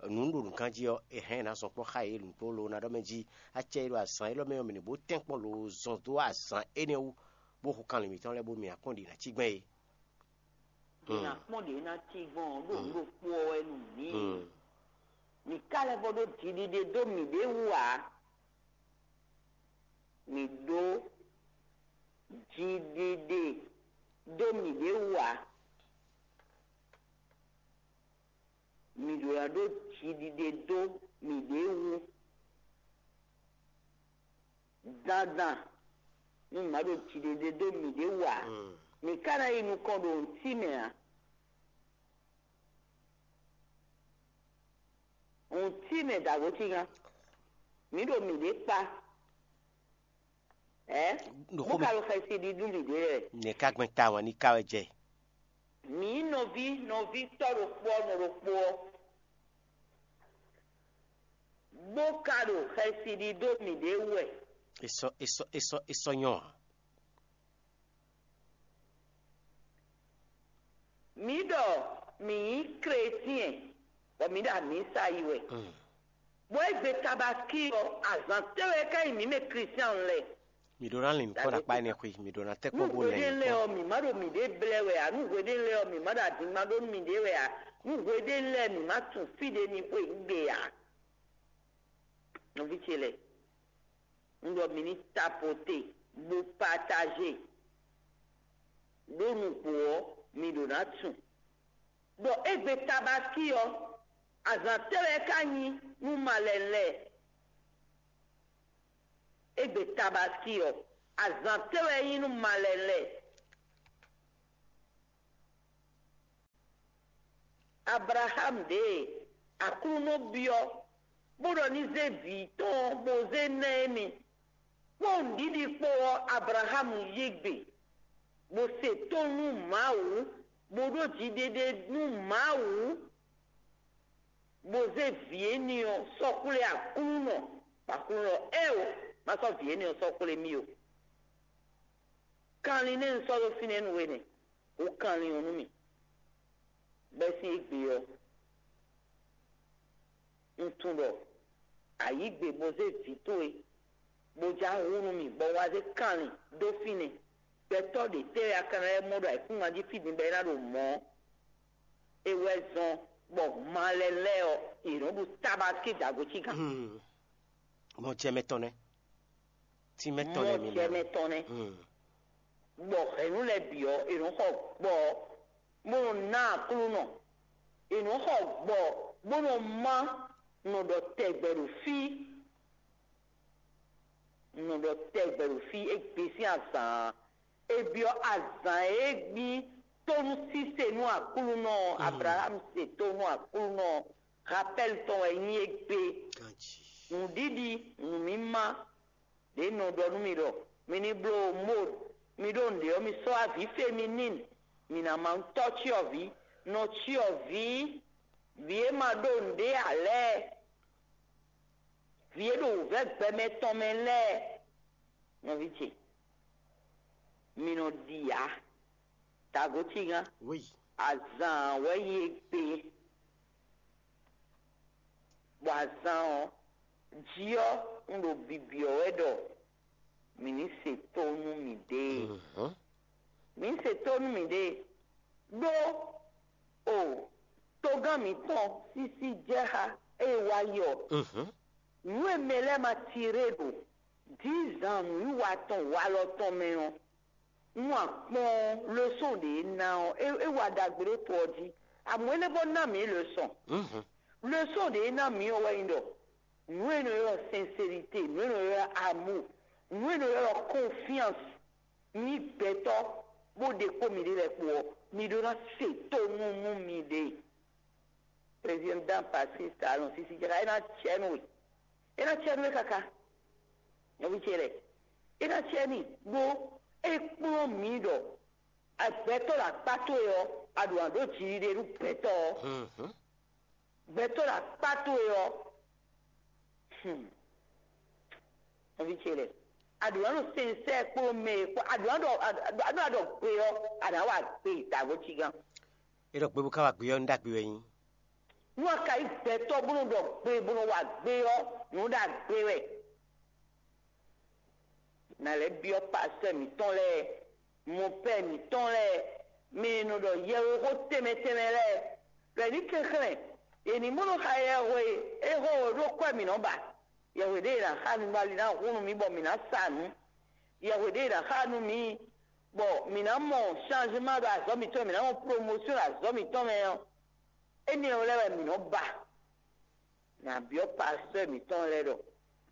nǔ ɖo nǔkan jí ɔ́, è hɛn ná zɔn kpɔ́ xá yě nǔgbó loo ná ɖɔ mɛ jí acɛ e ɖo azǎn élɔ́ mɛ ɔ́, mǐ ní bó tɛ́nkpɔ́n loo zɔn dó azǎn énɛ́ wú, bó hu kanlin mǐtɔn lɛ́ɛ bónú mǐ ná kpɔ́n ɖě ná cí gbɛn é. Mǐ ná kpɔ́n ɖě ná cí gbɔn ɔ́, ɖo nǔ ɖokpó ɔ́ wɛ nú mǐ. Mǐ ka lɛ́ vɔ ɖó jiɖiɖe dó mǐɖée wú ǎ. Mǐ ɖó jiɖiɖe dó mǐɖée wú ǎ. Mǐ ɖó ná ɖó jiɖiɖe dó mǐɖée wú. Dandan nú mǐ ma ɖo jiɖiɖe dó mǐɖée wú ǎ, mǐ ka ná yi nukɔn ɖo nǔtí mɛ ǎ. Nǔtí mɛ dǎgó cígan, mǐ ɖo mǐɖée kpá. Ɛ? Bó ka ɖo xɛsi ɖi nú mǐɖée wɛ. Nɛ̌ ka gbɛn ta wɛn ní ka wɛ jɛ? Mǐ nɔví nɔví tɔ́ ɖokpó ɔ́ nɔ ɖokpó ɔ́, bó ka ɖo xɛsi ɖi dó mǐɖée wú wɛ. È sɔ́ è sɔ́ è sɔ́ è sɔ́ nyɔ́ ǎ. Mǐ ɖɔ mǐ nyí kletiɛn, bɔ mǐ ɖo amǐsa yi wɛ. Bɔ égbé tabaski ɔ́, azǎn tɛ́ wɛ ka nyí mǐ mɛ kletiɛn lɛ́ɛ? Mǐ ɖó ná lin nǔkpɔ́ ɖo akpá énɛ́ xwé, mǐ ɖó ná tɛ́ kpɔ́n bó lɛn nǔkpɔ́. Nǔhwedɛ́ lɛ́ɛ ɔ́, mǐ má ɖo mǐɖée blɛ́ wɛ ǎ. Nǔhwedɛ́ lɛ́ɛ ɔ́, mǐ má ɖo adǐngban ɖó nú mǐɖée wɛ ǎ. Nǔhwedɛ́ lɛ́ɛ, mǐ má tunwun fí ɖě ní xwe yǐgbe ǎ. Nɔví ce lɛ́ɛ, un ɖɔ mǐ ní tapote, bó pataje. Ɖó nǔgbó ɔ́, mi ɖǒ ná tunwun ɖɔ égbé tabaski ɔ́, azǎn tɛ́ wɛ ka nyí nú malɛnu lɛ́ɛ? Égbé tabaski ɔ́, azǎn tɛ́ wɛ nyí nú malɛnu lɛ́ɛ? Ablaxámu ɖě e Aklúnɔ byɔ́ bó ɖɔ ní zé vǐ tɔn bó zé ná émí. Kpɔ́n nǔɖiɖi kpó ɔ́, Ablaxámu yí gbe, bó se tó nú Mawu, bó ɖó jiɖiɖe nú Mawu, bó zé vǐ énɛ́ ɔ́ sɔ́ xwlé Aklúnɔ, bɔ Aklúnɔ ɖɔ: Éeǒ, má sɔ́ vǐ énɛ́ ɔ́ sɔ́ xwlé mì ó. Kanlin nɛ́ un sɔ́ ɖó fínɛ́ nú we nɛ́, hú kanlin ɔ́ nú mì. Bɛ́ sín égbé ɔ́, un tunwun ɖɔ a yǐ gbe bó zé vǐ towe, bó já hu nú mì, bɔ un wá zé kanlin dó fínɛ́. Gbɛtɔ́ ɖě tɛ́ wɛ a ka ná lɛ́ mɔ ɖo ayǐkúngban jí fí din bɔ é ná ɖo mɔ̌? É wɛ zɔ́n bɔ malɛnu lɛ́ɛ ɔ́, yě nɔ ɖu tabaski dǎgó cígan. Mɔ jɛ mɛ tɔn nɛ́. Tínmɛ tɔn nɛ́ mi mɔ jɛ mɛ tɔn nɛ́. Bɔ hɛ̌nnu lɛ́ɛ bǐ ɔ́, è nɔ xɔ gbɔ, bó nɔ ná Aklúnɔ. È nɔ xɔ gbɔ, bó nɔ má nɔ ɖɔ tɛgbɛ ɖo fí. Nɔ ɖɔ tɛgbɛ ɖo fí, é gbe sín azǎn. É byɔ́ azǎn e gbí tónú síse nú Aklúnɔ ɔ́. Ablaxámu se tó nú Aklúnɔ ɔ́. Rapɛ́l tɔn wɛ nyí égbé. Nǔɖiɖi, nǔmímá ɖě nɔ ɖɔ nú mi ɖɔ mi ní bló Mode, mi ɖó nǔɖé ɔ́, mi sɔ́ avǐ fe mi n'i. Mi ná ma tɔ́ cyɔvǐ, nɔ cyɔvǐ, vǐ e ma ɖó nǔɖé ǎ lɛ́ɛ, vǐ e ɖo wǔvɛ́ gbɛmɛ tɔn mɛ lɛ́ɛ. Nɔví ce, mi nɔ ɖi ǎ. Tago cígan. Azǎn wɛ nyí égbé, bɔ azǎn ɔ́ jí ɔ́, un ɖo bibyɔ́ wɛ ɖɔ mǐ ní se tó nú mǐɖée. Mǐ ní se tó nú mǐɖée, ɖó o togán mǐtɔn sísí jɛ xá ée wá yi ɔ́, nǔ e mɛ lɛ́ɛ ma tiré ɖo dǐzan nǔwiwa tɔn walɔ tɔn mɛ ɔ́, nú a kpɔ́n losɔn ɖě e ná ɔ́, é é wa ɖagbe ɖó to ɔ́ jí. Amɔ̌ é lɛ́ vɔ́ ná mǐ losɔn. Losɔn ɖě e ná mǐ ɔ́ wɛ nyí ɖɔ nǔ e nɔ ylɔ́ sincérité, nǔ e nɔ ylɔ́ amour, nǔ e nɔ ylɔ́ confiance, nyí gbɛtɔ́ bó ɖe kpó miɖée lɛ́ɛ kpó ɔ́, mi ɖó ná se tónú nú miɖée. Président Patrice Talon sisi jɛ é ná cɛ nú we. É ná cɛ nú we káká. Nɔví ce lɛ́ɛ, é ná cɛ n'i ɖó é kplɔ́n mǐ ɖɔ gbɛtɔ́ ɖo akpá towe ɔ́, a ɖo nǎ ɖó jiɖiɖe nú gbɛtɔ́ ɔ́. Gbɛtɔ́ ɖo akpá towe ɔ́, hmm, nɔví ce lɛ́ɛ, a ɖǒ ná ɖo sɛnsɛ́ kpó mɛ e kpó, a ɖǒ ná ɖɔ a ɖǒ ná ɖɔ gbe ɔ́, a nǎ wa gbe dǎgbó cígán. É ɖɔ gbe bó ka wa gbe ɔ́, nú ɖagbe wɛ nyí. Nú a ka nyí gbɛtɔ́ bó nɔ ɖɔ gbe bó nɔ wa gbe ɔ́, nǔ ɖagbe wɛ. Nǎ lɛ́ byɔ́ pastɔ́ mǐtɔn lɛ́ɛ, mɔpɛ́ mǐtɔn lɛ́ɛ, mɛ e nɔ ɖɔ yɛwexó tɛnmɛ tɛnmɛ lɛ́ɛ, ɖɔ è ní kɛnklɛ́n, è nǐ mɔ nɔ xa yɛhwe e xo ɖó kwɛ́ mǐ nɔ ba. Yɛhwe ɖé e nǎ xa nú bɔ ali ná hun nú mì bɔ mǐ ná sa nǔ. Yɛhwe ɖé e nǎ xa nú mǐ bɔ mǐ ná mɔ changement ɖo azɔ̌ mǐtɔn mɛ, mǐ ná mɔ promotion ɖo azɔ̌ mǐtɔn mɛ ɔ́, énɛ́ ɔ́ lɛ́ɛ wɛ mǐ nɔ ba. Nǎ byɔ́ pastɔ́ mǐtɔn lɛ́ɛ ɖɔ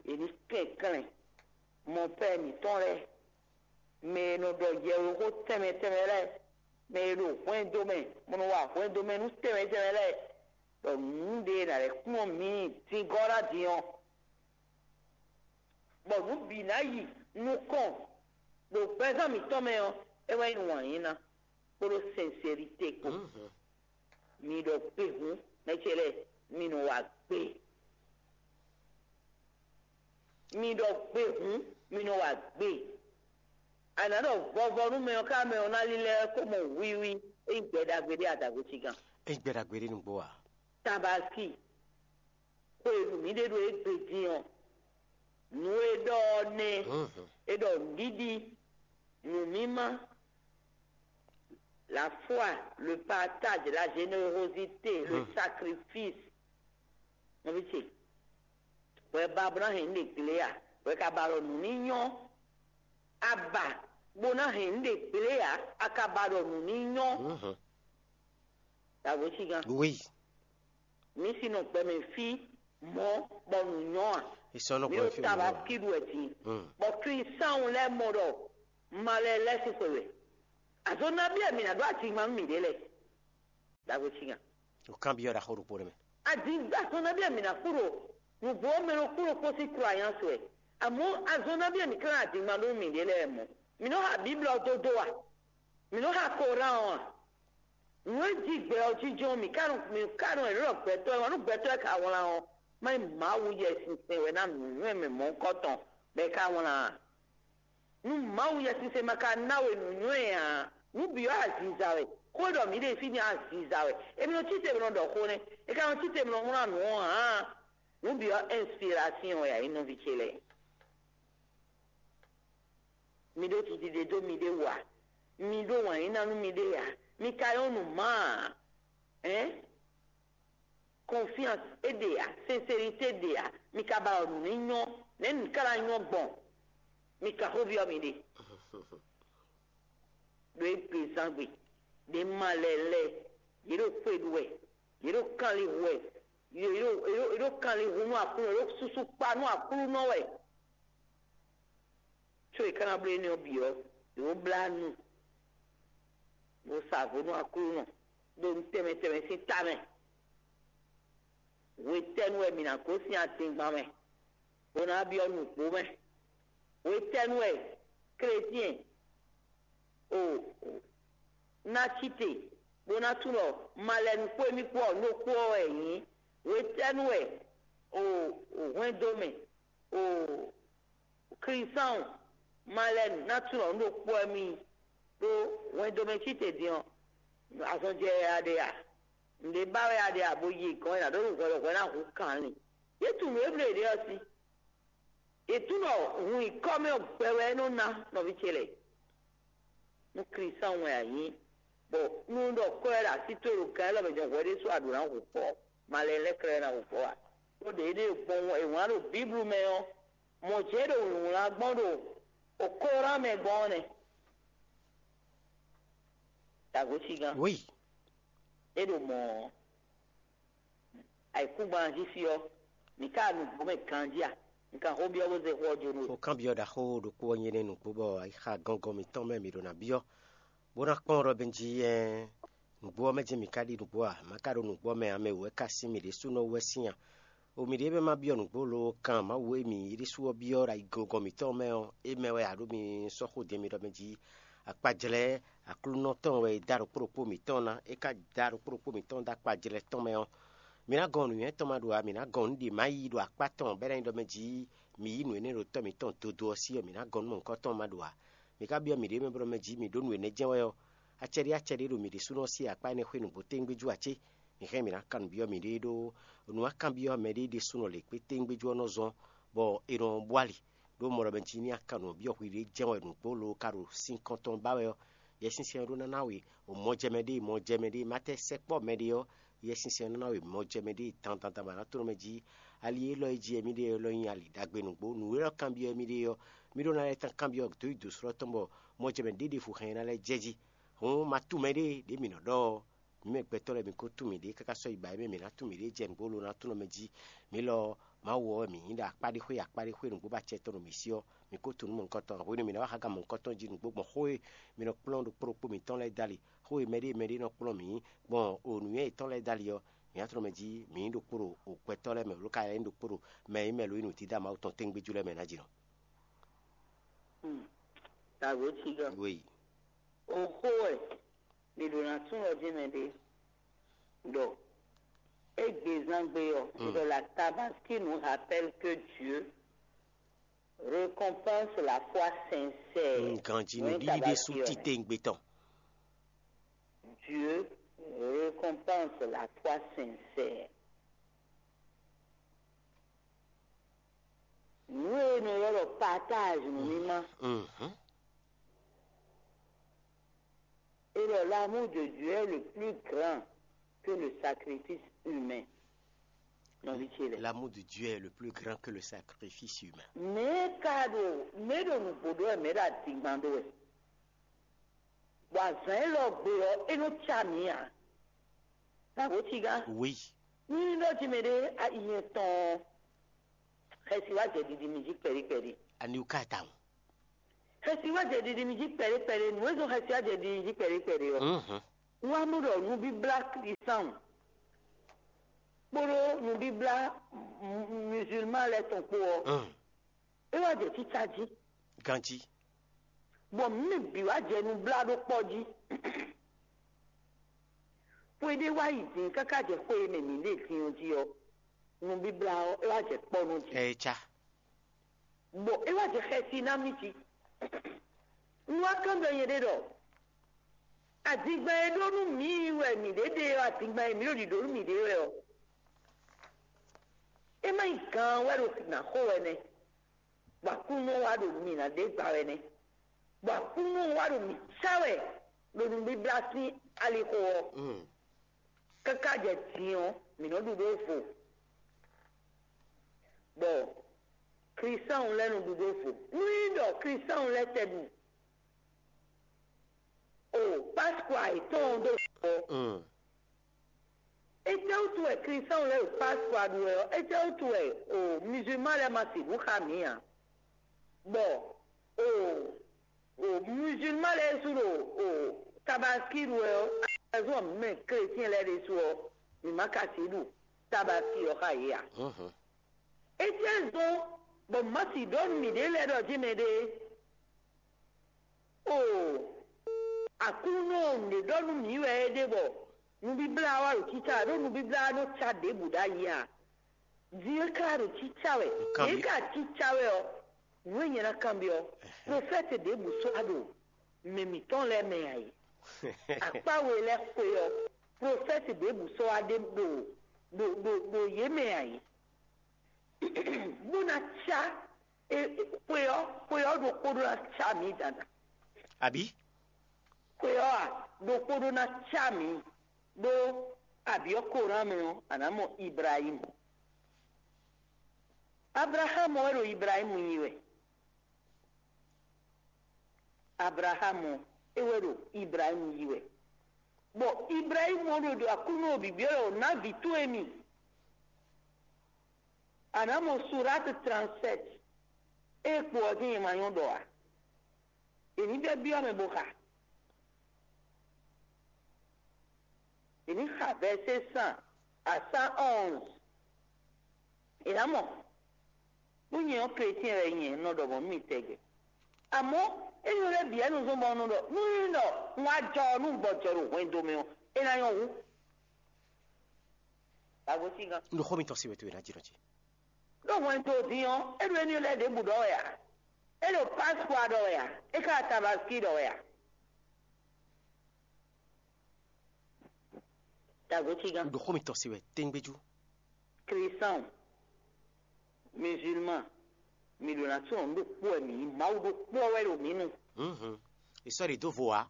è ní kɛnklɛ́n mɔpɛ́ mǐtɔn lɛ́ɛ, mɛ e nɔ ɖɔ yɛwexó tɛnmɛ tɛnmɛ lɛ́ɛ, mɛ e ɖo hwɛndo mɛ, bó nɔ wa hwɛndo mɛ nú tɛnmɛ tɛnmɛ lɛ́ɛ, ɖɔ nǔɖé e nǎ lɛ́ kplɔ́n mǐ dingɔ́ ná din ɔ́, bɔ nǔ bǐ ná yi nukɔn ɖo gbɛzán mǐtɔn mɛ ɔ́, é wɛ nyí wǎn yíná kpódó sɛnselite kpó. Mi ɖɔ gbe hǔn, mɛ ce lɛ́ɛ, mi nɔ wa gbe. Mi ɖɔ gbe hǔn, mi nɔ wa gbe. A nǎ ɖɔ vɔvɔ nú mɛ ɔ́ ká mɛ ɔ́ ná lílɛ́ kó mɔ wiwi, é nyí gbɛ ɖagbe ɖé adǎgosígán. É nyí gbɛ ɖagbe ɖé nǔgbó ǎ. Tabaski, xwe e ɖu mǐ ɖe ɖo égbé din ɔ́, nǔ e ɖɔ ɔ́ nɛ́. É ɖɔ nǔɖiɖi, nǔmímá, la foi, le partage, la générosité, le sacrifice. Nɔví ce, hwɛ ba bó ná hɛn nǔ ɖe glé a? Hwɛ ka ba ɖɔ nǔ ní nyɔ́. A ba bó ná hɛn nǔ ɖe glé a? A ka ba ɖɔ nǔ ní nyɔ́. Dǎgosígán. Oui. Mǐ si nɔ gbɛmɛ fí mɔ̌ bɔ nǔ nyɔ́ a? Mǐ ɖo tabaski ɖu wɛ din. Bɔ Klísáwun lɛ́ɛ mɔ ɖɔ malɛ lɛ́ɛ sín xwe wɛ. Azɔn nabí wɛ mǐ ná ɖó ajingban nú mǐɖée lɛ́ɛ? Dǎgosígán. O kanbyɔ́ ɖaxó ɖokpó ɖé mɛ. Ajingban azɔn nabí wɛ mǐ ná kú ɖo nǔgbó ɔ́ mɛ ɖokpó ɖokpó sín croyance wɛ. Amɔ̌ azɔn nabí wɛ mǐ ka ná ajingban ɖó nú mǐɖée lɛ́ɛ mɔ̌? Mǐ nɔ xa Bíblu ɔ́ dó dó a? Mǐ nɔ xa Koran ɔ́ a? Nǔ e jí gbɛ ɔ́ jínjɔ́n mǐ ka nɔ mǐ ka nɔ è nɔ ɖɔ gbɛtɔ́ e wǎn nú gbɛtɔ́ e ka wlán ɔ́, má nyí Mawu Yɛsinsɛn wɛ ná nǔnywɛ́ mɛ mɔ̌hunkɔtɔn bɔ è ka wlán a? Nú Mawu Yɛsinsɛn ma ka ná we nǔnywɛ́ ǎ, nǔ bǐ ɔ́ aziza wɛ. Xó e ɖɔ mǐ ɖe fí ní aziza wɛ. È nɔ cí te bó nɔ ɖɔ xó nɛ́. È ka nɔ cí te bó nɔ wlán nǔ ɔ́ ǎ. Nǔ bǐ ɔ́ inspirasiɔn wɛ ǎ, nyí nɔví ce lɛ́ɛ. Mi ɖó jiɖiɖe dó miɖée wú a? Mi ɖó wǎn yí ná nú miɖée ǎ? Mi ka nyɔ́ nǔ má a? Ɛ̌n? Confiance é ɖe ǎ, sincérité ɖe ǎ, mi ka ba ɖɔ nǔ ní nyɔ́, nɛ̌ nǔ ka ná nyɔ́ gbɔn? Mi ka xó byɔ́ miɖée. Ɖo égbezán gbe, ɖě ma lɛ́ɛ lɛ́ɛ, yě ɖo xwe ɖu wɛ, yě ɖo kanlin hu wɛ, yě ɖo yě ɖo yě ɖo kanlin hu nú Aklúnɔ, yě ɖo susu kpa nú Aklúnɔ wɛ. Có è ka ná bló énɛ́ ɔ́ bǐ ɔ́, yě ko blá nu, bó sa vo nú Aklúnɔ ɖo nǔ tɛnmɛ tɛnmɛ sín ta mɛ. Hwetɛ́nu wɛ mǐ ná gosín adingban mɛ, bó ná byɔ́ nǔgbó mɛ? Hwetɛ́nu wɛ klɛ́syɛn o ná cí te, bó ná tunwun ɖɔ malɛnu kpó émí kpó ɔ́, nú kpó ɔ́ wɛ è nyǐ? Hwetɛ́nu wɛ o hwɛndo mɛ o Klísáwun malɛnu ná tunwun ɖɔ nǔ ɖokpó wɛ mì ɖó hwɛndo mɛ cí te din ɔ́, azɔn jɛ wɛ a ɖe a? Nǔɖé ba wɛ a ɖe a bo yi gɔ̌n e nǎ ɖó nú hwɛ ɖɔ hwɛ ná hu kanlin? Yě tunwun nǔ e bló yěɖée ɔ́ sí. Yě tunwun ɖɔ hun nyǐkɔ mɛ ɔ́ gbɛ wɛ é nɔ ná nɔví ce lɛ́ɛ. Nú Klísáwun wɛ a nyǐ, bɔ nú ɖɔ kɔ́ wɛ ɖo así towe ɖo gan élɔ́ mɛ jɔn hwɛ ɖésú a ɖǒ ná hu fɔ, malɛ lɛ́ɛ klɛ́ ná hu fɔ a? Ɖó ɖě ɖé gbɔn è wlán ɖo Bíblu mɛ ɔ́, mɔ̌ jɛ́n ɖo wlǐwlán gbɔn ɖo okóran mɛ gbɔn ɔ́ nɛ́. Dǎgosígán. Oui. É ɖo mɔ̌ ɔ́, ayǐkúngban jí fí ɔ́, mǐ ka nǔgbó mɛ ganjí a? Mi ka xó byɔ́ bó zé xó ɔ́ jó nú we. Xó kanbyɔ́ ɖaxó ɖokpó ɔ́ nyí énɛ́ nǔgbó bɔ ayixa gɔngɔn mǐtɔn mɛ mǐ ɖo ná byɔ́, Bó ná kpɔ́n ɖɔ mɛ jí ɛ́n, nǔgbó ɔ́ mɛ jɛ́n mǐ ka ɖi nǔgbó a? Má ka ɖo nǔgbó ɔ́ mɛ ǎ, mɛ wǔ wɛ ka sín mǐ ɖésúnɔ wú wɛ sín a? O mǐɖée mɛ ma byɔ́ nǔgbó lo kan Mawu e mǐ ɖésú ɔ́ byɔ́ ɖo ayiglogɔn mǐtɔn mɛ ɔ́, é mɛ wɛ a ɖǒ mi sɔ́ xó din mi ɖɔ mɛ jí akpajlɛ́ Aklúnɔ tɔn wɛ è dá ɖokpó ɖokpó mǐtɔn ná. É ka dá ɖokpó ɖokpó mǐtɔn dó akpajlɛ́ tɔn mɛ ɔ́, mǐ ná gɔn nǔnywɛ́ tɔn ma ɖo ǎ. Mǐ ná gɔn nǔ ɖě ma yí ɖo akpá tɔn bɔ é ná nyí ɖɔ mɛ jí mǐ yí nǔ énɛ́ ɖo Tɔ́ mǐtɔn dodó ɔ́ sí ɔ́, mǐ ná gɔn nú mɔ̌hunkɔtɔn ma ɖo ǎ. Mǐ ka byɔ́ mǐɖée mɛ bló mɛ jí mǐ ɖó nǔ énɛ́ jɛ́n wɛ ɔ́, acɛɖiacɛɖi ɖo mǐ ɖésúnɔ sín akpá énɛ́ xwé nǔgbó téwúngbéjú ǎ cé? Mǐ hɛn mǐ ná kan nǔ byɔ́ mǐɖée ɖó nǔ akánbyɔ́ mɛ ɖé ɖésúnɔ lě kpé téwúngbéjú ɔ́ nɔ zɔ́n, bɔ è nɔ bú ali. Ɖó mɔ ɖɔ mɛ jí ní a kan nǔ byɔ́ hwiɖée jɛ́n wɛ nǔgbó lo ka ɖo sin kɔn tɔn ba wɛ ɔ́, Yɛsinsɛn ɔ́ ɖó ná ná we mɔjɛmɛ ɖé mɔjɛmɛ ɖé ma tɛ sɛkpɔ́ mɛ ɖé ɔ́, Yɛsinsɛn ɔ́ ná ná we mɔjɛmɛ ɖé dandandan bɔ a nǎ tlɔ́n mɛ jí. Ali élɔ́ e jí wɛ mì ɖe ɔ́ lɔ nyí ali ɖagbe nǔgbó. Nǔ e lɔ kanbyɔ́ mì ɖe ɔ́, mì ɖó ná lɛ́ tán kanbyɔ́ dó yi dǒ slɔ́ tɔn bɔ mɔjɛmɛ ɖé ɖěvo hɛn ná lɛ́ jɛ jí. Hǔn ma tunwun mɛ ɖé ɖě mǐ nɔ ɖɔ ɔ́, mǐ mɛ gbɛtɔ́ lɛ́ɛ mi ko tunwun mǐɖée káká sɔ́ yi ba é mɛ mǐ ná tunwun mǐɖée jɛ nǔgbó lo ná tlɔ́n mɛ jí. Mǐ lɔ Mawu ɔ́ wɛ mǐ nyí ɖo akpá ɖé xwé akpá ɖé xwé nǔgbó ba acɛ tɔn ɖo mǐ sí ɔ́, mǐ ko tunwun nǔ mɔ̌hunkɔtɔn. Hwenu e mǐ ná wá xá gǎn mɔ̌hunkɔtɔn jí nǔgbó gbɔn xó e mǐ nɔ kplɔ́n ɖo kpó ɖokpó mǐtɔn lɛ́ɛ dali, xó e mɛɖée mɛɖée nɔ kplɔ́n mǐ gbɔn o nǔnywɛ́ yětɔn lɛ́ɛ dali ɔ́, mǐ ná tlɔ́n mɛ jí mǐ nyí ɖokpó ɖo gbɛtɔ́ lɛ́ɛ mɛ, lǒ ka nyí ɖokpó ɖo mɛ e nyí mɛ lo nyí nǔdídá Mawu tɔn tɛ́ngbéjú lɛ́ɛ mɛ ná jí nɔ. Dǎwe cígá. Wéyi. Oxó wɛ mǐ ɖo ná súnɔ dín mɛ ɖé ɖɔ égbezán gbe ɔ́, ɖɔ la Tabaski nous rappelle que Dieu récompense la foi sincère. Ganji nǔɖiɖi ɖésú titewungbe tɔn. Dieu récompense la foi sincère. Nǔ e nɔ ylɔ́ ɖɔ partage nǔ mímá. Et le l'amour de Dieu est le plus grand que le sacrifice humain. Nɔvi ce lɛ. L'amour de Dieu est le plus grand que le sacrifice humain. Mɛ ka ɖo mɛ ɖo nǔgbó ɖó wɛ, mɛ ɖo adingban ɖó wɛ. Bɔ azǎn élɔ́ gbe ɔ́, é nɔ cá mǐ ǎ. Nǎgó cígán. Oui. Ní ɖɔ jí mɛ ɖé ayi etɔn ɔ́, xɛsi wá jɛ ɖiɖi mi jí kpɛɖé kpɛɖé. Ani wú ka tawun. Xɛsi wá jɛ ɖiɖi mi jí kpɛɖé kpɛɖé. Nǔ e zɔn xɛsi wá jɛ ɖiɖi mi jí kpɛɖé kpɛɖé ɔ́, wá mɔ ɖɔ nubíblá Klísáun kpódó nubíblá musulman lɛ́ɛ tɔn kpó ɔ́, é wá jɛ cícá jí. Ganjí. Bɔ mǐ mɛ bǐ wá jɛ nublá ɖó kpɔ́ jí. Xwe ɖé wá yi din káká jɛ xwe e mɛ mǐ ɖe din ɔ́ jí ɔ́, nubíblá ɔ́, é wá jɛ kpɔ́ nú jí. Ɛ cá. Bɔ é wá jɛ xɛsi ná mì jí. Un wá kán ɖɔ nyɛ ɖé ɖɔ adingban e ɖó nú mǐ wɛ mǐ ɖe ɖe ɔ́, adingban e mǐ ɖo ɖiɖǒ nú mǐ ɖe wɛ ɔ́, é má nyí gan wɛ ɖo nǎ xo wɛ nɛ́, bɔ Aklúnɔ wá ɖo mǐ ná ɖe gba wɛ nɛ́, bɔ Aklúnɔ wá ɖo mǐ cá wɛ ɖo nubíblá sín alixo ɔ́. Káká jɛ din ɔ́, mǐ nɔ ɖu ɖó vo, bɔ Klísáun lɛ́ɛ nɔ ɖu ɖó vo. Nú nyí ɖɔ Klísáun lɛ́ɛ tɛ ɖu o Pasqua yětɔn ɔ́ ɖó vo ɔ́, étɛ́wútu wɛ Klísáun lɛ́ɛ ɖo Pasqua ɖu wɛ ɔ́, étɛ́wútu wɛ o musulman lɛ́ɛ ma sixú xa mǐ ǎ? Bɔ o o musulman lɛ́ɛ su ɖo o Tabaski ɖu wɛ ɔ́, azɔn mɛ chrétien lɛ́ɛ ɖésú ɔ́, mǐ ma ka sixú ɖu Tabaski ɔ́ xa yě ǎ. Étɛ́ zɔ́n bɔ mǎ sixú ɖɔ nú mǐɖée lɛ́ɛ ɖɔ jí mɛɖée? Oo, Aklúnɔ nǔɖé ɖɔ nú mǐ wɛ é ɖe bɔ nubíblá wá ɖo cícá wɛ, ɖó nubíblá nɔ cá ɖěbǔ ɖ'ayǐ ǎ. Din e ka ɖo cícá wɛ, Nǔkanbyɔ́- ɖě ka cícá wɛ ɔ́, nǔ e nyɛ ná kanbyɔ́, profɛ́ti ɖěbǔ sɔ́ wá ɖo mɛ mǐtɔn lɛ́ɛ mɛ ǎ é. Akpá we lɛ́ɛ xwe ɔ́, profɛ́ti ɖěbǔ sɔ́ wá ɖe ɖo ɖo ɖo ɖo yě mɛ ǎ é. Bó ná cá e- e- xwe ɔ́, xwe ɔ́ ɖokpó ɖó ná cá mǐ dandan. Abǐ? Xwe ɔ́ a, ɖokpó ɖó ná cá mǐ ɖó abyɔ́ Koran mɛ ɔ́, a nǎ mɔ Ibrahímu. Ablaxámu wɛ ɖo Ibrahímu yi wɛ. Ablaxámu ɔ́, é wɛ ɖo Ibrahímu yi wɛ. Bɔ Ibrahímu ɔ́ ɖo ɖo Aklúnɔ ɖo bǐbí ɔ́ lɔ ná vǐ towe mi. A nǎ mɔ Surátu trannsɛ́t. Ée kpo ɔ́ dín nyɛ ma nyɔ́ ɖɔ ǎ. È ní vɛ́ byɔ́ mɛ bó xa. Ní xa vɛ̌sé san a cent onze. È nǎ mɔ, nú nyɛ ɔ́, chrétien wɛ nyɛ, un nɔ ɖɔ mɔ̌ nú mi tɛgbɛ. Amɔ̌, énɛ́ lɛ́ɛ bǐ wɛ un zɔ́n bɔ un nɔ ɖɔ, nú nyí ɖɔ un wá jɔ ɔ́, nú un gbɔ jɔ ɖo hwɛndo mɛ ɔ́, é ná nyɔ́ hú. Dagotígan. Un ɖo xó mitɔn se wɛ towe ná jínɔ ce. Ɖó hwɛndo din ɔ́, é ɖo énɛ́ lɛ́ɛ ɖěbǔ ɖɔ wɛ ǎ. É ɖo Pasqua ɖɔ wɛ ǎ. É ka Tabaski ɖɔ wɛ ǎ. Dagotígan. Un ɖo xó mitɔn se wɛ téŋgbéjú. Klísan, musulman, mi ɖo ná tunwun ɖokpó wɛ mǐ nyí, Mawu ɖokpó wɛ ɖo mǐ nu. Mhm. È sɔ́ ɖě dó vo ǎ.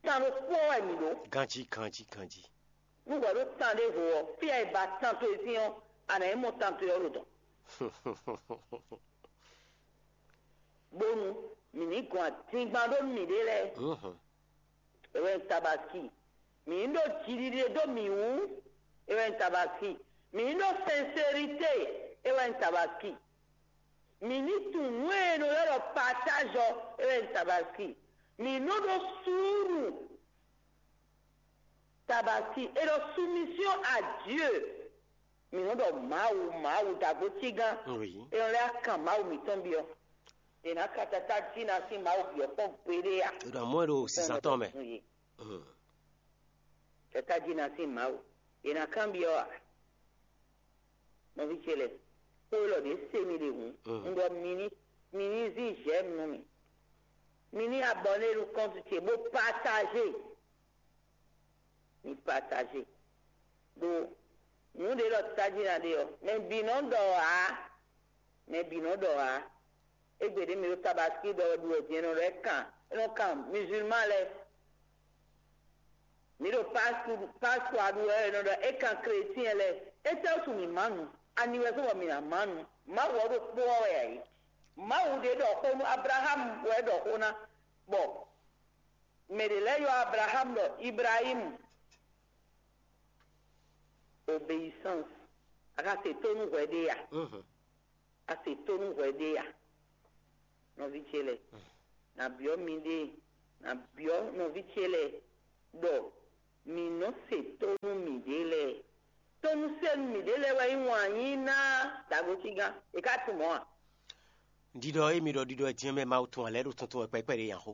Tan ɖokpó wɛ mǐ ɖó. Ganjí, ganjí, ganjí. Nú hwɛ ɖó tan ɖěvo ɔ́, fí e è ba tan towe sín ɔ́, a nǎ yi mɔ tan towe ɔ́ ɖo dɔ̌n. Bónú mǐ ní gɔn adingban ɖó nú mǐɖée lɛ́ɛ. Mhm. É wɛ nyí Tabaski. Mǐ ní ɖó jiɖiɖe dó mǐ wú. É wɛ nyí Tabaski. Mǐ ní ɖó sɛnserité. É wɛ nyí Tabaski. Mǐ ní tunwun nǔ e è nɔ ylɔ́ ɖɔ patáz ɔ́. É wɛ nyí Tabaski. Mǐ nɔ ɖó suúlu. Tabaski. É ɖɔ soumission à Dieu. Mǐ nɔ ɖɔ Mawu, Mawu, dagbo cígán. Oui. É nɔ lɛ́ kan Mawu mǐtɔn byɔ́. È nǎ ka tatá jí ná sín Mawu byɔ́ kpɔ́n gbeɖé a? È ɖo amɔ̌ ɖo sisa tɔn mɛ. Tatá jí ná sín Mawu. È nǎ kan byɔ́ a? Nɔví ce lɛ́ɛ, xó élɔ́ ɖě se mi ɖe hǔn. Un ɖɔ mi ní, mi ní zí j'aime nú mì. Mi ní abɔné nú kɔ́ntu ce bó patážé. Mi patážé. Ɖó nǔ ɖě ɖɔ tají ná ɖe ɔ́, mɛ bǐ nɔ ɖɔ ǎ. Mɛ bǐ nɔ ɖɔ ǎ. Égbé ɖě mi ɖo tabaski ɖɔ wɛ ɖu wɛ din, è nɔ ɖɔ é kan, é nɔ kan musulman lɛ́ɛ. Mǐ ɖo Pasku ɖu wɛ è nɔ ɖɔ é kan chrétien lɛ́ɛ. Étɛ́ wútu mǐ má nu? Ani wɛ zɔ́n bɔ mǐ ná má nu? Mawu ɔ́ ɖokpó ɔ́ wɛ ǎ é. Mawu ɖě ɖɔ xó nú Ablaxámu wɛ é ɖɔ xó ná, bɔ mɛ ɖě lɛ́ɛ ylɔ́ Ablaxámu ɖɔ Ibrahímu. Obéissance. A ka se tónú hwɛ ɖé a? A se tónú hwɛ ɖé a? Nɔví ce lɛ́ɛ, nǎ byɔ́ miɖée, nǎ byɔ́ nɔví ce lɛ́ɛ ɖɔ mǐ nɔ́ se tónú mǐɖée lɛ́ɛ. Tónúsenu mǐɖée lɛ́ɛ wɛ nyí wǎn yí ná dagbotígán. È ka tunwun mɔ̌ a? Ɖiɖɔ e mi ɖɔ ɖiɖɔ e din ɔ́ mɛ Mawu tun ǎ lɛ́ɛ ɖo tuntun wɛ kpɛɖé kpɛɖé nya xó.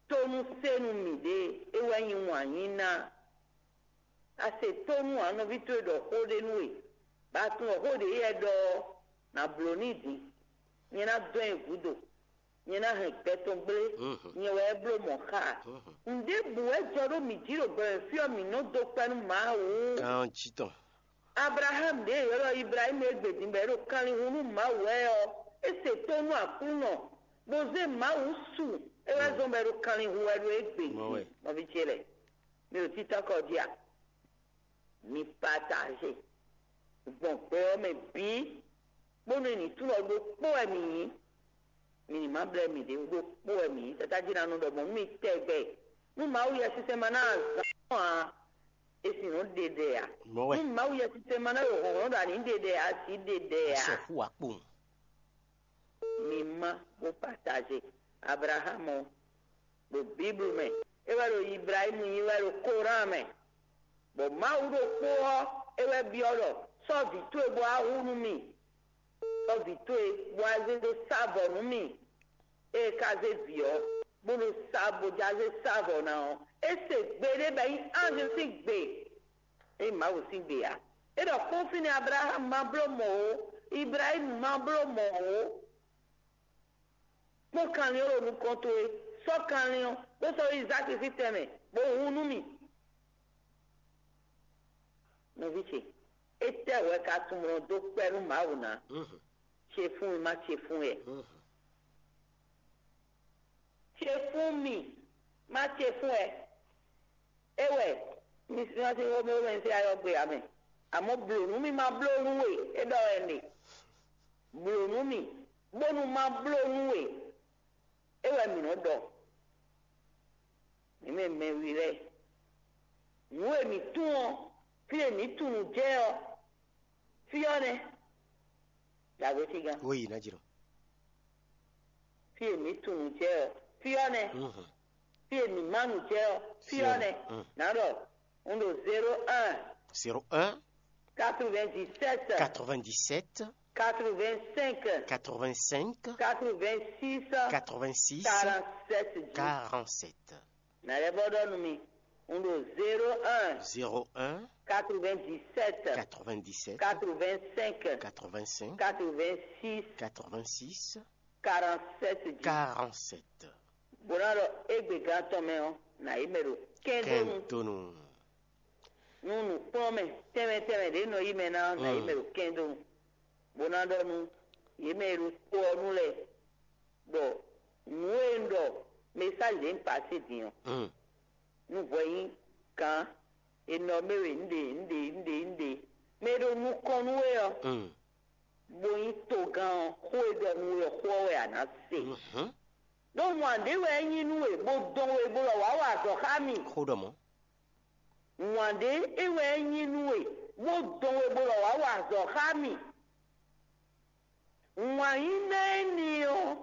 Tónúsenu mǐɖée é wɛ nyí wǎn yí ná. A se tónú ǎ, nɔví towe ɖɔ xó ɖé nú we, bɔ a tunwun ɖɔ xó ɖě yɛ ɖɔ ɔ́, nǎ bló n'i din. Nyɛ ná dɔn nyi gǔdo, nyɛ ná hɛn gbɛ tɔn gblé, nyɛ wɛ é bló mɔ̌ xá. Nǔɖébǔ wɛ jɔ ɖó mǐ jí ɖo gbɛmɛ fí ɔ́, mǐ nɔ dó kpɛ́ nú Mawu. Ganjí tɔn. Ablaham ɖě è ylɔ́ ɖɔ Iblahímu e gbě din bɔ é ɖo kanlin hun nú Mawu wɛ ɔ́, é se tó nú Aklúnɔ, bó zé Mawu su. É wɛ zɔ́n bɔ é ɖo kanlin hun wɛ ɖo égbé din. Nɔví ce lɛ́ɛ, mi ɖo títɔ́ kɔ jí a? Mi pataze gbɔn gbɛ ɔ́ mɛ bǐ, bónú è nǐ tunwun ɖɔ ɖokpó wɛ mǐ nyí. Mi ní ma blɛ́ mǐɖée wú, ɖokpó wɛ mǐ nyí. Tata jí ná nɔ ɖɔ mɔ̌ nú mi tɛgbɛ. Nú Mawu Yɛsinsɛn ma ná azǎn ɔ́ ǎ, è sì nɔ ɖe ɖɛ ǎ. Nú Mawu Yɛsinsɛn ma ná ɖo hlɔ̌nhlɔ́n ɖɔ a nǐ ɖe ɖɛ ǎ, a sǐ ɖe ɖɛ ǎ. Sɔxu wá kpowun. Mi má bó pataze. Ablaham ɔ́, ɖo Biblu mɛ, é wɛ ɖo Iblahímu nyí wɛ ɖo Koran mɛ. Bɔ Mawu ɖokpó ɔ́, é wɛ byɔ́ ɖɔ: Sɔ́ vǐ towe bó wá hu nú mì. Sɔ́ vǐ towe bó wá zé dó sá vɔ̌ nú mì. Ée é ka zé vǐ ɔ́, bó ɖo sá bó já zé sá vɔ̌ ná ɔ́, é se gbe ɖé bɔ é nyí anjlu sín gbe. É nyí Mawu sín gbe ǎ. É ɖɔ kpɔ́n fínɛ́ Ablaxámu ma bló mɔ̌ ó, Iblahímu ma bló mɔ̌ ó. Kpɔ́n kanlin ɔ́ ɖo nukɔn towe, sɔ́ kanlin ɔ́, bó sɔ́ Izáki sín tɛnmɛ, bó hun nú mì. Nɔví ce, étɛ́ wɛ ka tunwun dó kpɛ́ nú Mawu ná? Ce fún mì, má ce fún wɛ. Ce fún mì, má ce fún wɛ. É wɛ mi si ma se xomɛ xomɛ se ayɔ gbe ame. Àmọ́ blǒ nú mì ma bló nú we, é ɖɔ wɛ nè. Blǒ nú mì, bónú ma bló nú we. É wɛ mǐ nɔ ɖɔ. Mǐ mɛ mɛwi lɛ́ɛ, nǔ e mǐ tunwun ɔ́, fí e mǐ tunwun jɛ ɔ́, fí ɔ́ nɛ́. Dǎgbétígán. Wo yi ná jlɔ́. Fí e mǐ tunwun jɛ ɔ́, fí ɔ́ nɛ́. Fí e mǐ má nǔ jɛ ɔ́, fí ɔ́ nɛ́. Nǎ ɖɔ Un ɖo zéro un, zéro un, quatre-vingt-dix-sept, quatre-vingt-dix-sept, quatre-vingt-cinq, quatre-vingt-cinq, quatre-vingt-six, quatre-vingt-six, quarante-sept dix. Quarante-sept. Na lɛ́ bɔ ɖɔ nú mi. Un ɖo zéro un, Zéro un, quatre-vingt-dix-sept, quatre-vingt-dix-sept, quatre-vingt-cinq, quatre-vingt-cinq, quatre-vingt-six, quatre-vingt-six, quarante-sept dix. Quarante-sept. Bó ná ɖɔ égbé gán tɔn mɛ ɔ́, nǎ yi mɛ ɖo kɛ́ndónú. Kɛntonu. Nú nǔkplɔ́nmɛ tɛnmɛ tɛnmɛ ɖě nɔ yi mɛ ná ɔ́, nǎ yi mɛ ɖo kɛ́ndónú. Bó ná ɖɔ nú yě mɛ e ɖo to ɔ́ nu lɛ́ɛ ɖɔ nǔ e un ɖɔ mɛsáji ɖě un pasé din ɔ́, Mm. nú hwɛ nyí gǎn e nɔ mɛ we un ɖe un ɖe un ɖe un ɖe mɛ e ɖo nukɔn nú we ɔ́, Mm. bó nyí togán ɔ́, xó e ɖɔ nú we ɔ́, xó ɔ́ wɛ a nǎ se. Mhm. Ɖó wǎn ɖé wɛ é nyí nú we, bó dɔn we, bó lɔ wǎ wa azɔ̌ xá mì. Xó ɖɔ mɔ̌. Wǎn ɖé é wɛ é nyí nú we, bó dɔn we, bó lɔ wǎ wa azɔ̌ xá mì. Wǎn nyí ná énɛ́ ɔ́,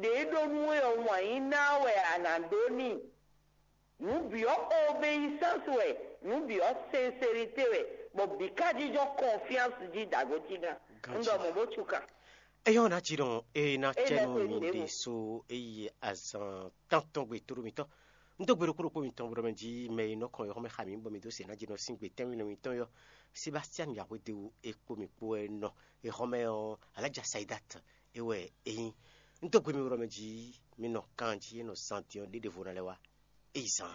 ɖě ɖó nú we ɔ́, wǎn nyí ná wɛ a nǎ ɖó n'i. Nǔ bǐ ɔ́, obéyisánsi wɛ, nǔ bǐ ɔ́, sɛnserité wɛ, bɔ bǐ ka jínjɔ́n kɔnfyánsi jí dǎgócí gán. Un ɖɔ mɔ̌ bó cukan. Eyɔ́ ná jí ɖɔn é ná É cɛ ná nú cɛ mi nú mi. Ɖésú é yi azan tántɔn gbe tlóló mitɔn. Un dó gbe ɖokpó ɖokpó mitɔn bó ɖɔ mɛ jí mɛ e nɔ kɔn yɔxɔmɛ xa mǐ bɔ mi dó se ná jí nɔ sín gbe tɛ́nwínɔ mitɔn yɔ. Sebastian Yahwedewu é kpó mi kpó wɛ nɔ. Exɔmɛ ɔ́, Alájà Saidat é wɛ é nyí. Un dó gbe mi bó ɖɔ mɛ jí mi nɔ kan jí é nɔ zan din ɔ́ ɖé ɖěvo ná lɛ́ wá. É yi zan.